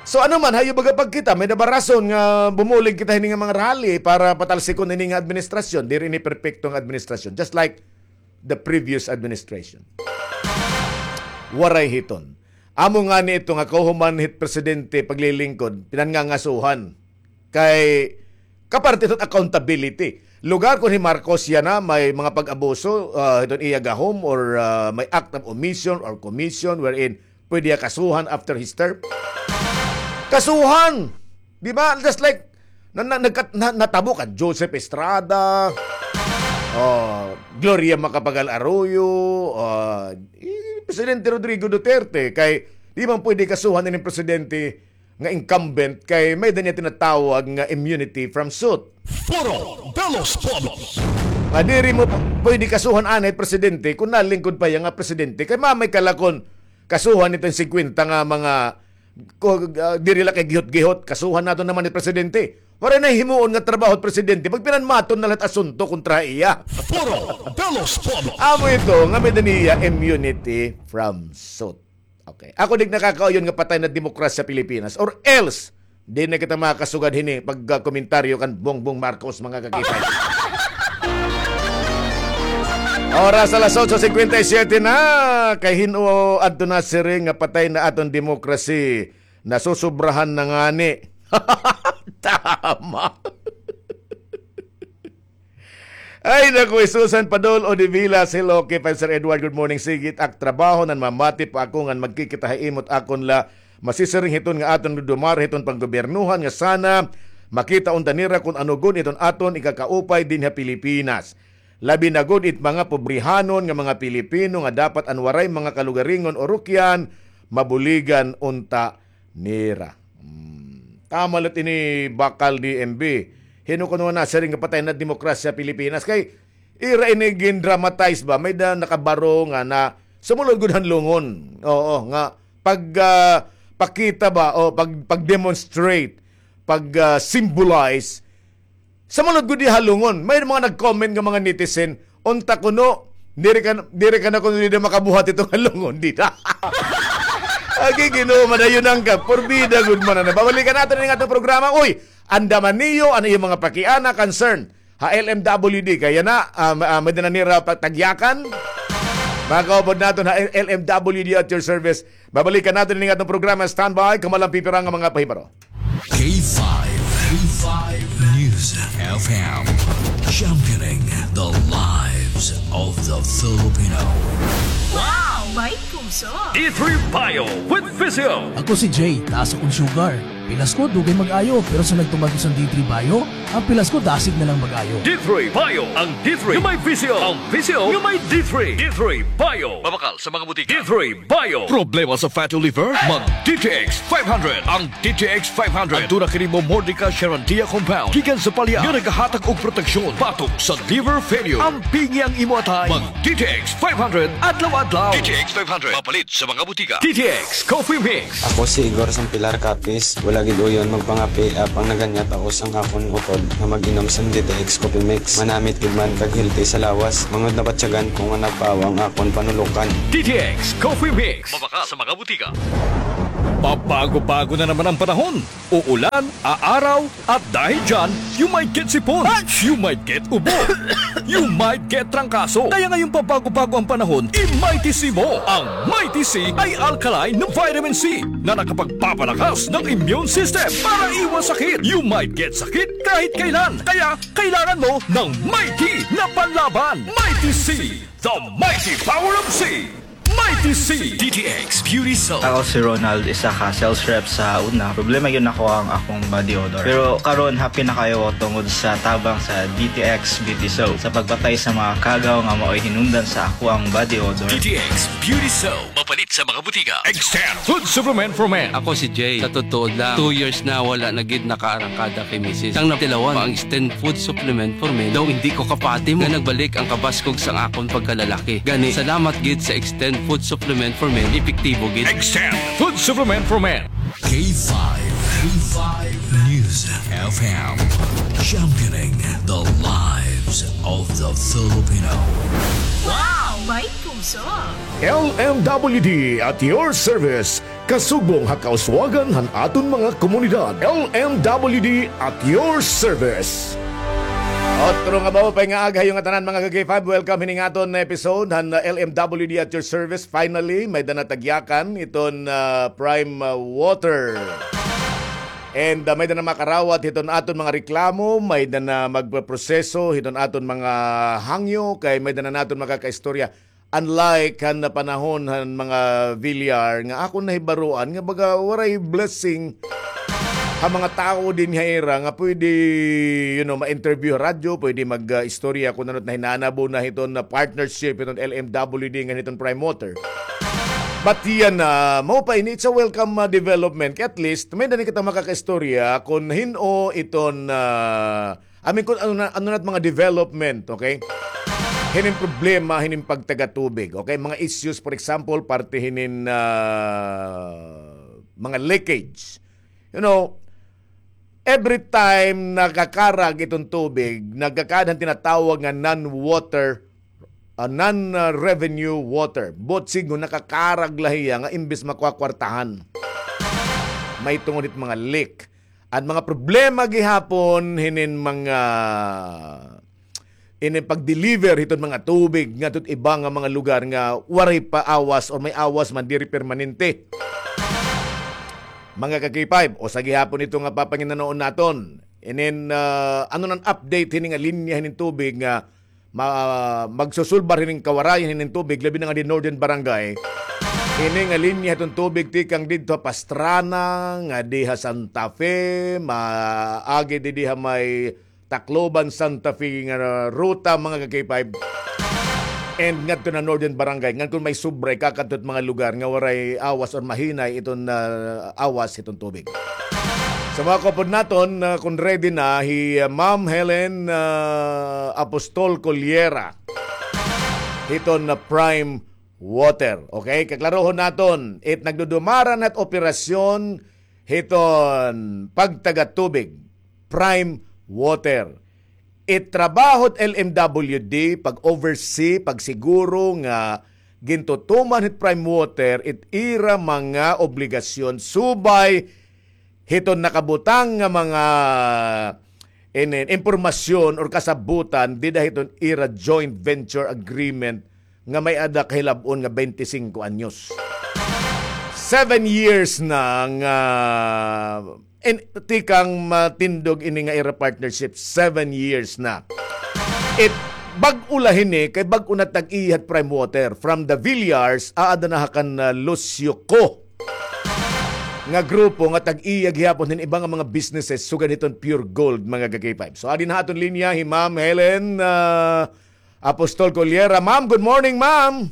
So, ano man, hayo baga pagkita, may-ada ba rason nga bumulig kita hini nga mga rally para patalsikon ini nga administrasyon? Diri ini perpekto nga administrasyon. Just like the previous administration. Waray hiton. Amo ngani ito nga kahuman hit presidente paglilingkod, pinangangasuhan. Kay, kaparte iton accountability. Lugar kon hi Marcos yana may mga pag-abuso, ah, hiton iya gahom or, ah, may act of omission or commission wherein pwede hiya kasuhan after his term. Kasuhan! Di ba? Just like, na, na, nagkat-, na, natabo kan Joseph Estrada, oh, Gloria Macapagal Arroyo, ah, eh, Presidente Rodrigo Duterte, kay di man pwede kasuhan ini presidente nga incumbent kay may-ada niya tinatawag nga immunity from suit. Foro de los Pueblos. Nga diri mo p-, pwede kasuhan anay presidente kon nalingkod pa hiya nga presidente. Kay mamay ka la kon kasuhan iton singkwenta nga mga ko-, ah, diri la kay gihot-gihot, kasuhan naton naman it presidente. Waray na himuon nga trabaho it presidente. Magpinanmaton na la it asunto kontra iya. Foro de los Pueblos. Amo ito nga may-ada niya immunity from suit. Okay. Ako di nakakauyon nga patay na demokrasya Pilipinas. Or else, di na kita makasugad hini pagkomentaryo kan Bongbong Marcos, mga kakipay. Oras alas otso cincuenta y siete na. Kay hin-o adto nasiring nga patay na aton demokrasya. Nasusobrahan na ngani. Tama. Ay, naku, Susan Padol Odivilas, hello, K five Sir Edward, good morning. Sige it ak trabaho, nanmamati pa ako ngan magkikita ha imo it akon la masisiring hiton nga aton dudumara hiton panggobyernohan nga sana makita unta nira kon ano gud iton aton ikakaupay dinhi ha Pilipinas. Labi na gud it mga pobrehanon nga mga Pilipino nga dapat an waray mga kalugaringon o rukyan, mabuligan unta nira. Hmm. Tama la it ini bakal D M B. Hin-o kuno nasiring nga patay na demokrasya Pilipinas? Kay ira ini gindramatize ba? May-ada nakabaro nga na sumulod gud han lungon. Oo, nga pag, ah, pakita ba o pag, pag-demonstrate, pag, ah, symbolize Sumulod gud iya ha lungon. May mga nag-comment nga mga netizen, unta kuno, diri ka, diri ka na kuno dida makabuhat ito nga lungon, dida. Agi Ginoo, madayonan ka. Porbida gud man na. Babalikan naton ini nga atong programa. Uy, andaman niyo an iyo mga pakiana, concern ha L M W D. Kay yana, ah, ma-, ah, may-ada na nira patagyakan. Mga kaupod naton ha L M W D at your service. Babalikan naton ini nga atong programa. Standby, kamo la an pipira nga mga pahibaro. K five, K five News F M, championing the lives of the Filipino. Wow! May puso! D three Bio with Physio. Ako si Jay, taas akon sugar. Pilas ko, dugay mag-ayo, pero sa nagtuman ko sa D three Bio, ang pilas ko dasig na lang mag-ayo. D three Bio, ang D three nga may Physio, ang Physio nga may D three. D three Bio. Mabakal sa mga butika. D three Bio. Problema sa fatty liver? Mag D T X five hundred. Ang D T X five hundred. Aduna kini Momordica charantia compound gikan sa palya nga nagahatag og proteksyon batok sa liver failure. Ampingi ang imo atay. Mag D T X five hundred adlaw-adlaw. D T X five hundred. Mapalit sa mga butika. D T X Coffee Mix. Ako si Igor Sampilar Capiz. Lagid uyon magpangape, apang naganya taos an akon utod nga mag-inom san D T X Coffee Mix. Manamit gid man kag healthy sa lawas. Mangud nabatyagan ko nga nagpawa an akon panulokan. D T X Coffee Mix. Mabakal sa mga butika. Pabago-bago na naman ang panahon. Uulan, aaraw, at dahil dyan, you might get sipon. You might get ubo. You might get trangkaso. Kaya ngayong pabago-bago ang panahon, i-Mighty C mo. Ang Mighty C ay alkaline na vitamin C na nakapagpapalakas ng immune system para iwas sakit. You might get sakit kahit kailan. Kaya kailangan mo ng Mighty na panlaban. Mighty C, the mighty power of C. Mighty C. D T X Beauty Soap. Ako si Ronald, isa ka sales rep sa una. Problema gyud nako ang akong body odor. Pero karon, happy na kaayo ako tungod sa tabang sa D T X Beauty Soap sa pagpatay sa mga kagaw nga mao'y hinungdan sa akoang body odor. D T X Beauty Soap. Mapalit sa mga butika. Extend Food Supplement for Men. Ako si Jay. Sa totoo lang, two years na wala na gid nakaarangkada kay misis. Sang natilawan pa ang Extend Food Supplement for Men, daw hindi ko kapati mo nga nagbalik ang kabaskog sang akon pagkalalaki. Gani, salamat gid sa Extend Food Supplement for Men, epektibo gid. Extend Food Supplement for Men. K five, K five News F M, championing the lives of the Filipino. Wow! May puso! L M W D at your service. Kasugbong ha kauswagan han aton mga komunidad. L M W D at your service. Otro nga maupay nga aga ha iyo ngatanan, mga ka-K five. Welcome hining aton episode han, uh, L M W D at your service. Finally, may-ada na tagyakan iton, uh, Prime, uh, Water. And, uh, may-ada na makarawat hiton aton mga reklamo, may-ada na magproseso hiton aton mga hangyo, kay may-ada na naton makakaistorya. Unlike han panahon han mga Villar nga akon nahibaroan nga baga waray blessing ha mga tawo dinhi ha ira nga pwede, you know, ma-interview ha radyo, pwede mag, ah, istorya kon ano it nahinanabo na hiton na partnership hiton L M W D ngan hiton Prime Water. But yana, mao pa ini, it's a welcome, ah, development. Kay at least, may-ada na kita makakaistorya kon hin-o iton, ah, I mean, kon ano na, ano na it mga development, okay? Hinin problema, hinin pagtaga tubig, okay? Mga issues, for example, parte hinin, ah, mga leakage. You know, every time nakakarag iton tubig, nagkakaada han tinatawag nga non-water, ah, non-revenue water. Buot siring nakakarag la hiya nga imbes makakwartahan. May tungod hit mga leak. An mga problema gihapon hinin mga, inin pag-deliver hiton mga tubig ngadto hit iba nga mga lugar nga waray pa awas or may awas man diri permanente. Mga ka-K five, usa gihapon ito nga papanginanoon naton. Inin, ah, ano nan update hini nga linya hinin tubig nga ma-, magsusulbar hining kawarayan hining tubig, labi na nga di Northern Barangay. Ini nga linya hiton tubig tikang didto ha Pastrana, nga diha Santa Fe, maagi didi ha may Tacloban, Santa Fe nga ruta, mga ka-K five. And ngadto na Northern Barangay, ngan kon may sobra, ikakadto hit mga lugar nga waray awas or mahinay iton, ah, awas hiton tubig. Sa mga kaupod naton, ah, kon ready na, hi, ah, Ma'am Helen, ah, Apostol Coliera. Hiton na Prime Water. Okay? Kaklarohon naton, it nagdudumara na it operasyon hiton pagtaga tubig, Prime Water. It trabaho hit L M W D, pag-oversee, pagsiguro nga gintutuman hit Prime Water it ira mga obligasyon subay hiton nakabutang nga mga inin impormasyon or kasabutan dida hiton ira joint venture agreement nga may-ada kahilab-on nga twenty-cinco anyos. Seven years na nga, in, tikang matindog ini nga ira partnership, seven years na. It bag-o la hini, kay bag-o na tag-iya hit Prime Water. From the Villars, aada na ha kan, ah, Lucio Co nga grupo nga tag-iya gihapon hin iba nga mga businesses, sugad hiton Pure Gold, mga ka-K five. So, adi na ha aton linya hi Ma'am Helen, ah, Apostol Coliera. Ma'am, good morning, ma'am.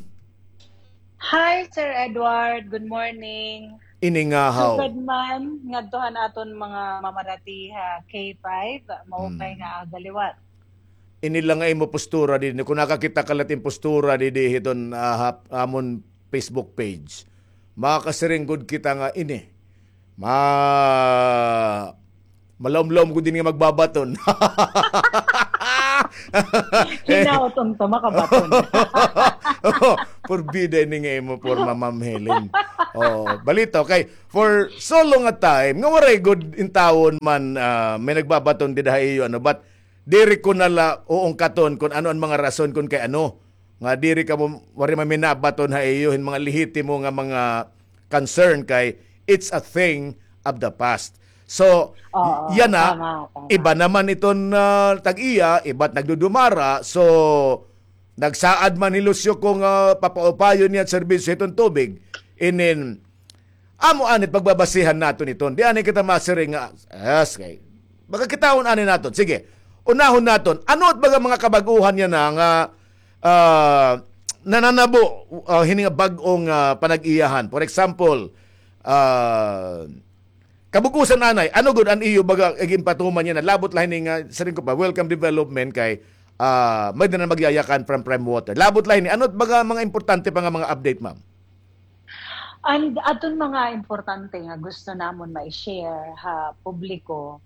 Hi, Sir Edward. Good morning. Ini nga haw. Sugad man ngadto han aton mga mamarati ha K five, maupay nga aga liwat. Ini la nga imo postura dinhi. Kon nakakita ka la it im postura dinhi hiton, ah, ha amon Facebook page, makakasiring gud kita nga ini Ma-, malaom-laom ko din nga magbabaton. Hinaot unta makabaton. Oo, purbida ini nga imo porma, Ma'am Helen. Oo, balita, okay. For so long a time, nga waray gud intawon man, ah, may nagbabaton dida ha iyo, ano, but diri ko na la uungkaton kun ano an mga rason kun kay ano nga diri kamo, waray man may nabaton ha iyo hin mga lehitimo nga mga concern kay it's a thing of the past. So, Oo, yana, tama, tama. Iba naman iton, ah, tag-iya, iba't nagdudumara. So, nagsaad man hi Lucio ko nga papaupayon niya an serbisyo hiton tubig. Inin, amo anit pagbabasihan naton iton. Di anay kita masiring nga, yes, kay. Baga kitaon anay naton. Sige, unahon naton. Ano it baga mga kabag-uhan yana nga, ah, nananabo, ah, hini nga bag-ong, ah, panag-iyahan? For example, ah, kabug-osan anay, ano gud an iyo baga ginpatuman yana? Labot la hini nga, siring ko pa, welcome development kay, ah, may-ada na magyayakan from Prime Water. Labot la hini, ano it baga mga importante pa nga mga update, ma'am? And aton mga importante nga gusto namon ma-share ha publiko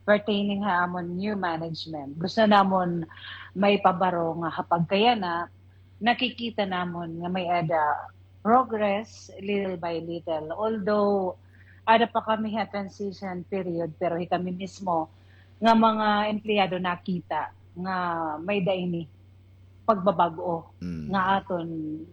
pertaining ha amon new management. Gusto namon maipabaro nga ha pagkayana, nakikita namon nga may-ada progress little by little. Although, ada pa kami ha transition period, pero hi kami mismo nga mga empleyado nakita nga may-ada ini pagbabag-o Mm. nga aton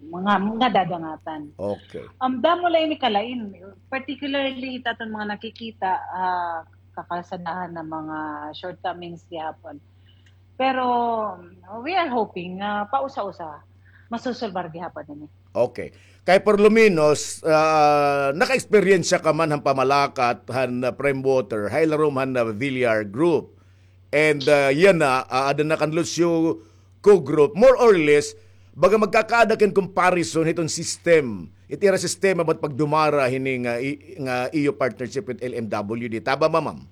mga, nga dadangatan. Okay. Um, damo la ini kalain, particularly it aton mga nakikita, ah, kakalsadahan nga mga shortcomings gihapon. Pero, um, we are hoping nga pausa-usa masusolbar gihapon ini. Okay. Kay por lo menos, ah, naka-eksperyensya ka man han pamalakat han, ah, Prime Water, ha ilarom han, ah, Villar Group. And, ah, yana, ah, aada na kan Lucio Co-Group, more or less, baga magkakaada kin comparison hiton system. It ira sistema ba't pagdumara hini nga i-, nga iyo partnership with L M W D. Tama ba, ma'am?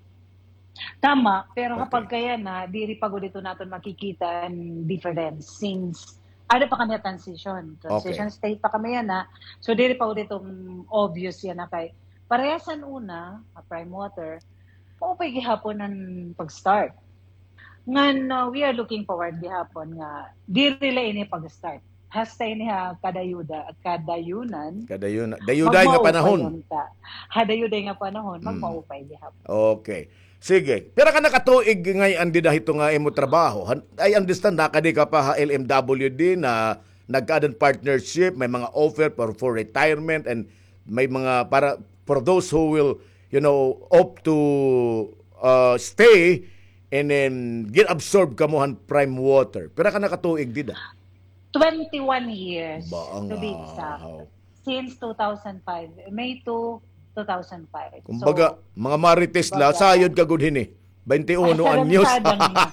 Tama, pero Okay. kapag kaya na, diri pa gud ito naton makikita an difference since ada pa kami ha transition. Transition Okay. state pa kami yana. So, diri pa gud ito, mm, obvious yana kay parehas an una, ah, Prime Water, maupay gihapon an pag-start. Ngan, ah, we are looking forward gihapon nga diri la ini pag-start. Hasta ini ha kadayuda, kadayunan, Kadayuna-, dayuday nga magmaupay panahon. unta. Ha dayuday nga panahon, Mm. magmaupay gihapon. Okay. Sige. Pira ka na ka tuig ngay-an dida hito nga imo trabaho? Han-, I understand, nakadi ka pa ha L M W D na nagkaadan partnership, may mga offer for, for retirement, and may mga para for those who will, you know, opt to, uh, stay, and then gin-absorb kamo han Prime Water. Pira ka na ka tuig dida? Twenty-one years, Ba ang to be exact. ahaw. Since two thousand five, May two, two thousand five. Kumbaga, So, mga marites la, kumbaga, sayod ka gud hini. Twenty-one anyos. Sadang-sadang na.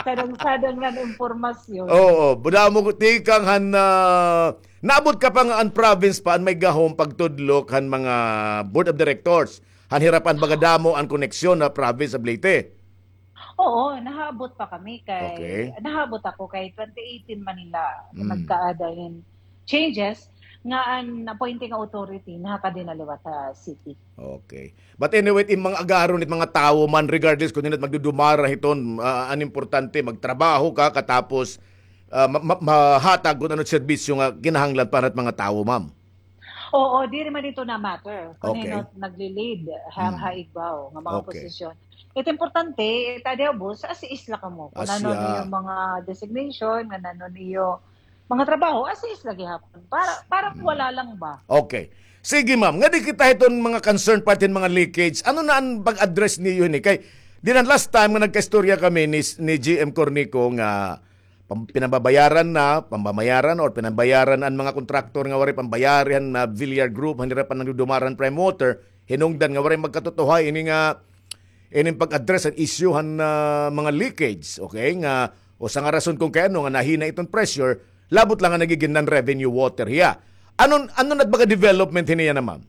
Sadang-sadang na an impormasyon. Oo, buda mo tikang han, ah, naabot ka pa nga an province pa an may gahom pagtudlok han mga board of directors. Han hirapan baga damo an koneksyon ha province of Leyte. Oo, nahaabot pa kami kay, Okay. nahaabot ako kay twenty eighteen man nila Mm. nagkaada hin changes nga an appointing authority nakadi na liwat ha city. Okay. But anyway, it mga agaron, it mga tawo man, regardless kun hin-o it magdudumara hiton, ah, an importante, magtrabaho ka, katapos, ah, ma-, ma-, mahatag kun ano it serbisyo nga kinahanglan para it mga tawo, ma'am. Oo, diri man ito na matter kun Okay. hin-o it nagli-lead ha, Mm. ha igbaw nga mga Okay. posisyon. It importante, it adi ubos, as is la kamo. Kun As ano ya- niyo mga designation, ngan ano niyo mga trabaho, as is la gihapon. Para, para Mm. wala lang ba? Okay. Sige, ma'am. Ngadi kita hiton mga concern part hin mga leakage. Ano na an pag-address niyo hini? Kay, dinan last time nga nagkaistorya kami ni, ni G M Cornico nga pam-, pinababayaran na, pambabayaran or pinabayaran an mga kontraktor nga waray pambayari han, ah, Villar Group, han hirapan nagdudumara han Prime Water, hinungdan nga waray magkatutuhay ini nga ining pag-address an issue han, ah, mga leakage, okay? Nga usa nga rason kun kay ano nga nahina iton pressure, labot la nga nagigin non-revenue water hiya. Ano, ano na it baga development hini yana, ma'am?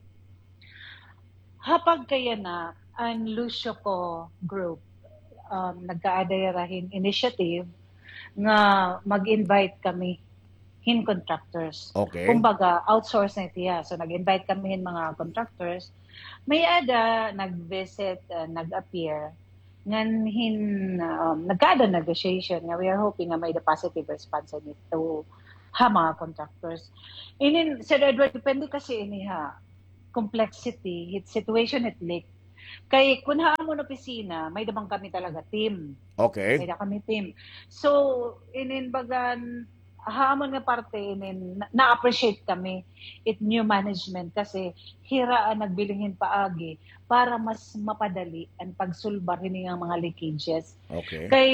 Ha pagkayana, an Lucio Co Group, um, nagkaada hira hin initiative nga mag-invite kami hin contractors. Okay. Kumbaga, outsource na it hiya. So, nag-invite kami hin mga contractors. May-ada nag-visit, ah, nag-appear, ngan hin, um, nagkaada negotiation nga we are hoping nga may-ada positive response ini to ha mga contractors. Inin, Sir Edward, depende kasi ini ha complexity, hit situation, hit leak. Kay kun ha amon opisina, may-ada man kami talaga team. Okay. May-ada kami team. So, inin bagan, ha amon nga parte, inin, na- na-appreciate kami it new management kasi hira an nagbilin hin paagi para mas mapadali an pagsulbar hini nga mga leakages. Okay. Kay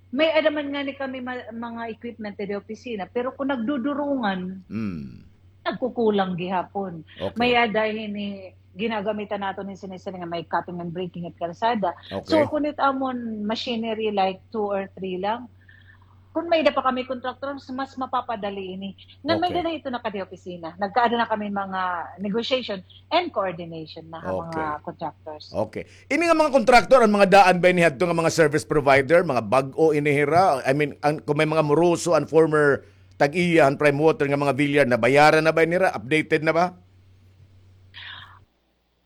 may-ada man ngani kami ma- mga equipment didi opisina, pero kun nagdudurungan, Mm. nagkukulang gihapon. Okay. May-ada hini ginagamitan naton hin sining-sining nga may cutting and breaking it kalsada. Okay. So kun it amon machinery like two or three lang, kun may-ada pa kami contractor, mas, mas mapapadali ini. Ngan may-ada na ito na kadi opisina. Nagkaada na kami mga negotiation and coordination na ha mga contractors. Okay. Ini nga mga contractor, an mga daan ba ini hadto nga mga service provider, mga bag-o ini hira? I mean, an, kun may mga moroso an former tag-iya han Prime Water nga mga Villar, nabayaran na ba ini hira? Updated na ba?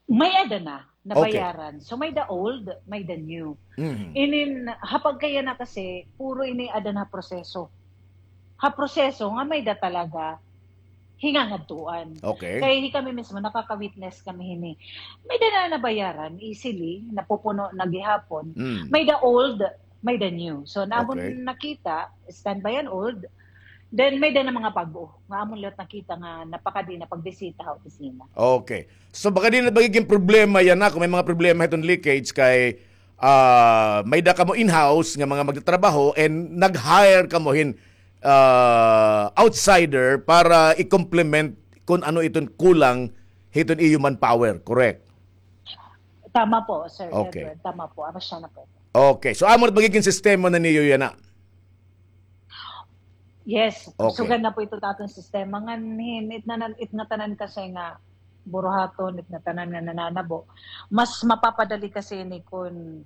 May-ada na, nabayaran. So may-ada old, may-ada new. Mhm. Inin, ha pagkayana kasi, puro ini ada na proseso. Ha proseso nga may-ada talaga hingangadtuan. Okay. Kay hi kami mismo, nakaka-witness kami hini. May-ada na nabayaran, easily, napupuno na gihapon. Mm. May-ada old, may-ada new. So, namon Okay. nakita, standby an old, then may-ada na mga bag-o. Nga amon liwat nakita nga napakadi na pagbisita ha opisina. Okay. So, baka di na magiging problema yana, kun may mga problema hiton leakage kay, ah, may-ada kamo in-house nga mga magtatrabaho and nag-hire kamo hin, ah, outsider para i-complement kun ano iton kulang hiton iyo manpower, correct? Tama po, Sir Okay. Edward. Tama po. Ano siya na po? Okay. So, amo na magiging sistema na niyo yana. Yes, Okay. Sugad na po ito ta aton sistema. Ngan hin, it na, it ngatanan kasi nga buruhaton, it ngatanan nga nananabo. Mas mapapadali kasi ini kun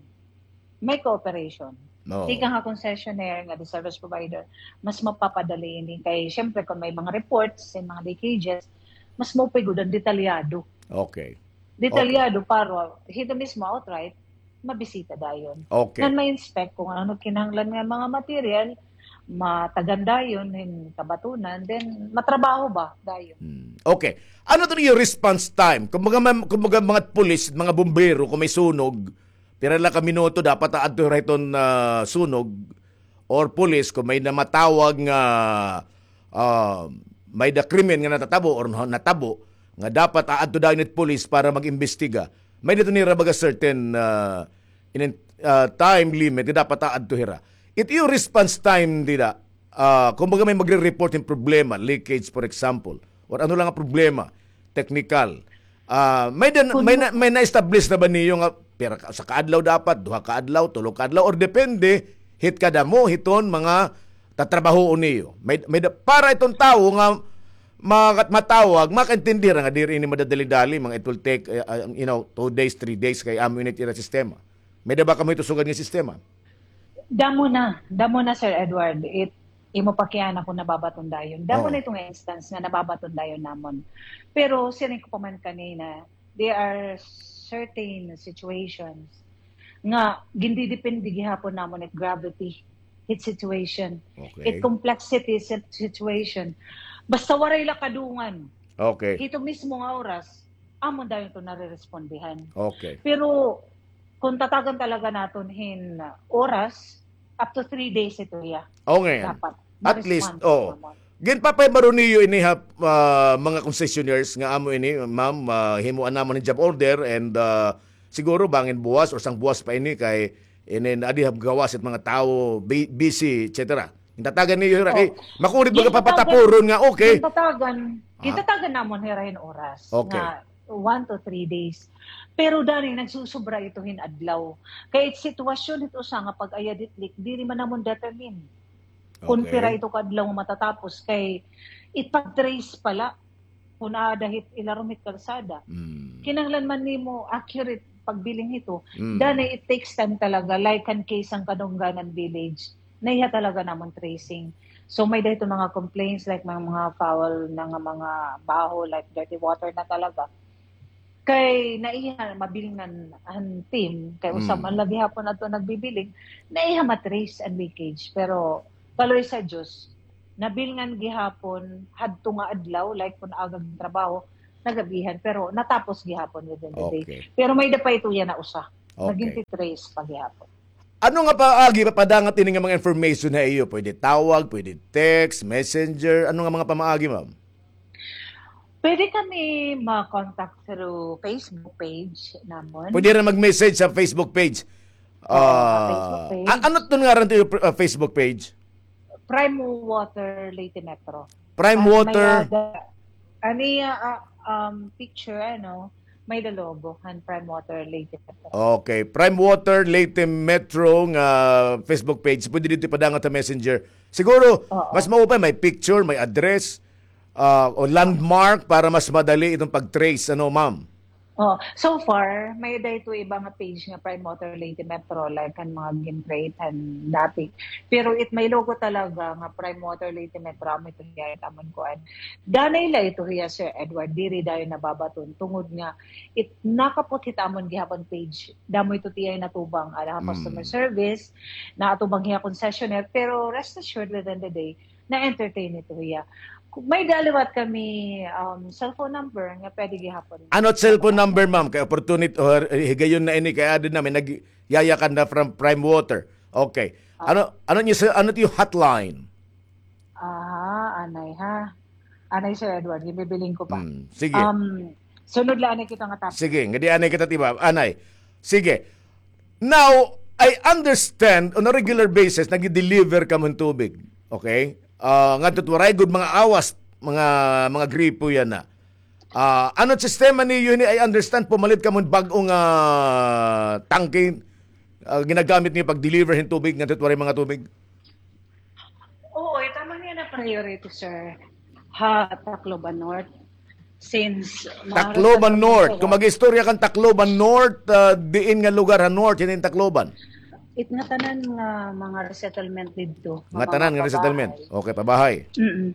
may cooperation. Oo. Tikang ha concessionaire nga the service provider, mas mapapadali ini. Kay, syempre, kun may mga reports, may mga leakages, mas maupay gud an detalyado. Okay. Detalyado para hito mismo outright, mabisita dayon. Okay. Ngan ma-inspect kun ano kinahanglan nga mga material, matagan dayon hin kabatunan, then matrabaho ba dayon. Hmm. Okay. Ano to iyo response time? Kumbaga, ma'am, kumbaga mga pulis, mga bumbero, kun may sunog, pira la ka minuto dapat aadto hira hiton, ah, sunog or pulis kun may namatawag nga, ah, may-ada krimen nga natatabo or na- natabo nga dapat aadto dayon it pulis para mag-imbestiga. May-ada to nira baga certain, ah, inin, ah, time limit nga dapat aadto hira. It iyo response time dida, ah, kumbaga may magre-report hin problema, leakage for example, or ano la nga problema, technical. Ah, may-ada, may na, may na-establish na ba niyo nga pira ka, usa ka adlaw dapat, duha ka adlaw, tulo ka adlaw, or depende hit kadamo hiton mga tatrabahoon niyo? May, may-ada, para iton tawo nga ma- matawag, makaintindi hira nga diri ini madadali-dali, mga it will take, eh, ah, you know, two days, three days kay amo ini it ira sistema. May-ada ba kamo hito sugad nga sistema? Damo na, damo na, Sir Edward. It, imo pa kiana kun nababaton dayon. Damo Oo. na ito nga instance nga nababaton dayon namon. Pero siring ko pa man kanina, there are certain situations nga gindidepende gihapon namon it gravity, it situation, Okay. it complexity sit- situation. Basta waray la kadungan. Okay. Hito mismo nga oras, amon dayon to nare-respondihan. Okay. Pero kun tatagan talaga naton hin oras, up to three days ito iya. Okay. Dapat. At least, Ma-respond oh. namon. Ginpapahibaro niyo ini ha, ah, mga concessionaires nga amo ini, ma'am, ah, himuan namon hin job order and, ah, siguro bangin buwas or sang buwas pa ini kay ini adi ha gawas it mga tawo, bu- busy, et cetera. Gintatagan niyo hira kay Oh. makurit baga Gintatagan- papatapuron nga, okay. Gintatagan, Ah. gintatagan namon hira hin oras. Okay. Nga one to three days. Pero dani, nagsusubra ito hin adlaw. Kay it sitwasyon hit usa nga pag-ayad hit leak, diri man namon determine kun Okay. pira ito ka adlaw nga matatapos. Kay it pag-trace pala, kun aada hit ilarom hit kalsada. Mm. Kinahanglan man nimo accurate pagbilin hito. Mm. Dani, it takes time talaga, like an case sang Kadungganan Village. Naiha talaga namon tracing. So, may-ada ito mga complaints, like mga, mga foul na nga mga baho, like dirty water na talaga. Kay naiha mabilngan an team, kay usa man la gihapon adto nagbibiling, naiha ma-trace an leakage. Pero kaluoy sa Diyos, nabilngan gihapon hadto nga adlaw, like kun aga gintrabaho, nagabihan, pero natapos gihapon within the day. Okay. Pero may-ada pa ito yana usa. Okay. Nagin-trace pa gihapon. Ano nga paagi mapadangat ini nga mga information ha iyo? Pwede tawag, pwede text, messenger. Ano nga mga pamaagi, ma'am? Pwede kami ma-contact through Facebook page namon. Pwede ra mag-message sa Facebook page. Oo, sa Facebook page. Ah, a-, ano it ngaran it iyo, ah, Facebook page? Prime Water Leyte Metro. Prime Water. An iya, ah, um, picture, ano, may-ada logo han Prime Water Leyte Metro. Okay, Prime Water Leyte Metro nga Facebook page. Pwede didto ipadangat ha messenger. Siguro, mas maupay, may picture, may address, ah, o landmark para mas madali iton pag-trace, ano, ma'am? Oh, so far, may-ada ito iba nga page nga Prime Water Leyte Metro, like han mga gin-create han dati. Pero it may logo talaga nga Prime Water Leyte Metro, amo ito hiya it amon kuan. Danay la ito hiya, Sir Edward, diri dayon nababaton tungod nga it nakapot hit amon gihapon page. Damo ito it iyay natubang, ala ha customer service, natubang hiya concessionaire, pero rest assured within the day, na-entertain ito hiya. May-ada liwat kami, um, cellphone number nga pwede gihapon. Ano it cellphone number, ma'am? Kay opportunity, or, eh, higayon na ini, kay aada na, may nagyayakan na from Prime Water. Okay. Ano, ano it iyo, ano it iyo hotline? Ah, anay ha. Anay, Sir Edward, ginbibiling ko pa. Hmm, sige. Um, sunod la anay kita nga topic. Sige, ngadi anay kita, di ba? Anay. Sige. Now, I understand, on a regular basis, nagdi-deliver kamo hin tubig. Okay? Ah, ngadto it waray gud mga awas, mga, mga gripo yana. Ah, ano it sistema niyo hini? I understand, pumalit kamo hin bag-o nga, ah, tangke, ah, ginagamit niyo pag-deliver hin tubig, ngadto it waray mga tubig. Oo, it amon yana priority, sir, ha Tacloban North. Since Tacloban North. Kung mag-istorya kan Tacloban North, ah, diin nga lugar ha North, hini Tacloban? It ngatanan nga mga resettlement didto. Ngatanan nga resettlement. Okay, pabahay. Mm-mm.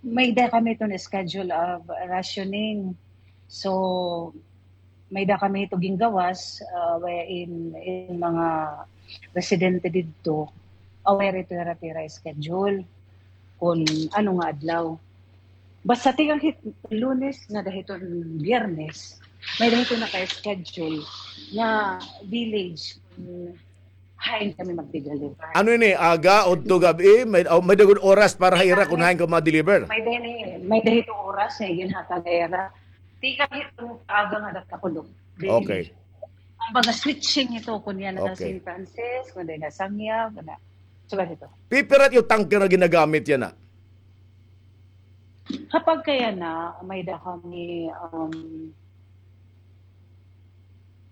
May-ada kami iton schedule of rationing. So, may-ada kami ito gingawas, ah, wherein in mga residente didto, aware ito hira it ira schedule kun ano nga adlaw. Basta tikang hit Lunes ngada hiton Biyernes, may-ada hito naka-schedule nga village, mm, hain kami magdi-deliver. Ano ini, aga, udto gab-i? May, oh, may-ada gud oras para ha ira kun hain kamo ma-deliver? May-ada ini, may-ada hito oras nga iginhatag ha ira. Tikang hiton aga ngada ha Tacloban. Okay. Kumbaga switching ito, kun yana ha Saint Francis, kun yana ha Sangya, kun yana. Sugad hito. Pipira it iyo tanker nga ginagamit yana? Ha pagkayana, may-ada kami, um,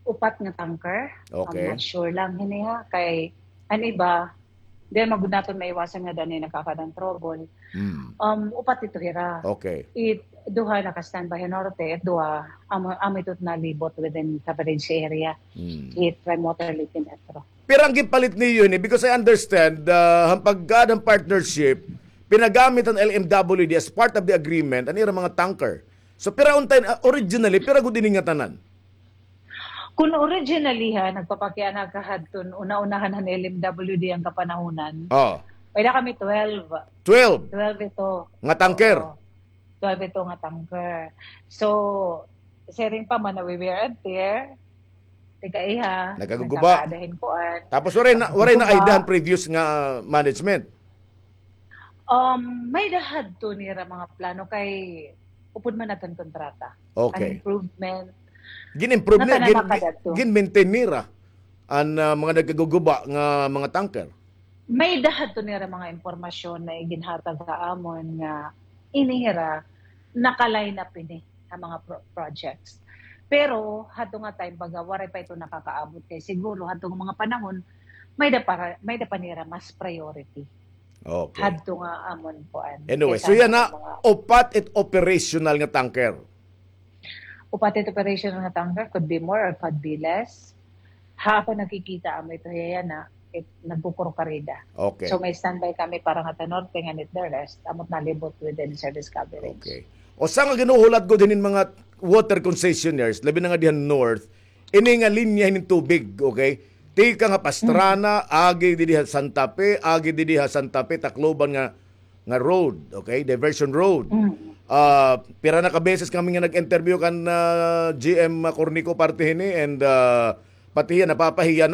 upat nga tanker. Okay. I'm not sure lang hini ha. Kay an iba, diri man gud naton maiwasan nga danay nakakaada hin trouble. Hmm. Um, upat ito hira. Okay. It duha naka-standby ha norte, it duha, amo, amo ito nalibot within coverage area. Hmm. It Prime Water Leyte Metro. Pira an ginpalit niyo hini? Because I understand, ah, han pagkaada han partnership, pinagamit han L M W D as part of the agreement an ira mga tanker. So, pira unta, ah, originally, pira gud ini ngatanan? Kun originally ha, nagpapakiana ka hadton una-unahan han L M W D an kapanahonan. Oh. May-ada kami twelve. Twelve? Twelve ito. Nga tanker? Oo. Twelve ito nga tanker. So, siring pa man na we wear and tear, tigkaiha, nagkaguguba. Nagkakaada hin kuan. Tapos waray na, waray na idea han previous nga management? Um, may-ada hadto nira mga plano kay upod man adto an kontrata. Okay. An improvement. Gin-improve nira, gin-, gin-maintain nira an, ah, mga nagkaguguba nga mga tanker. May-ada hadto nira mga impormasyon na iginhatag ha amon nga ini hira naka-line up ini ha mga pro-, projects. Pero hadto nga time, baga waray pa ito nakakaabot kay siguro hadto nga mga panahon, may-ada para, may-ada pa nira mas priority. Okay. Hadto nga amon kuan. Anyway, so yana, upat it operational nga tanker. Upat it operational nga tanker, could be more or could be less. Ha ako nakikita, amo ito hiya yana, it nagkukurokarida. Okay. So may standby kami para ngada ha norte, ngan it the rest, amo it nalibot within service coverage. Okay. Usa nga ginhuhulat gud hinin mga water concessionaires, labi na nga diha North, ini nga linya hinin tubig, okay? Tikang ha Pastrana, agi didi ha Santa Fe, agi didi ha Santa Fe, Tacloban nga, nga road, okay? Diversion road. Ah, pira na ka beses kami nga nag-interview kan, ah, G M Cornico parte hini, and, ah, pati hiya, napapahiya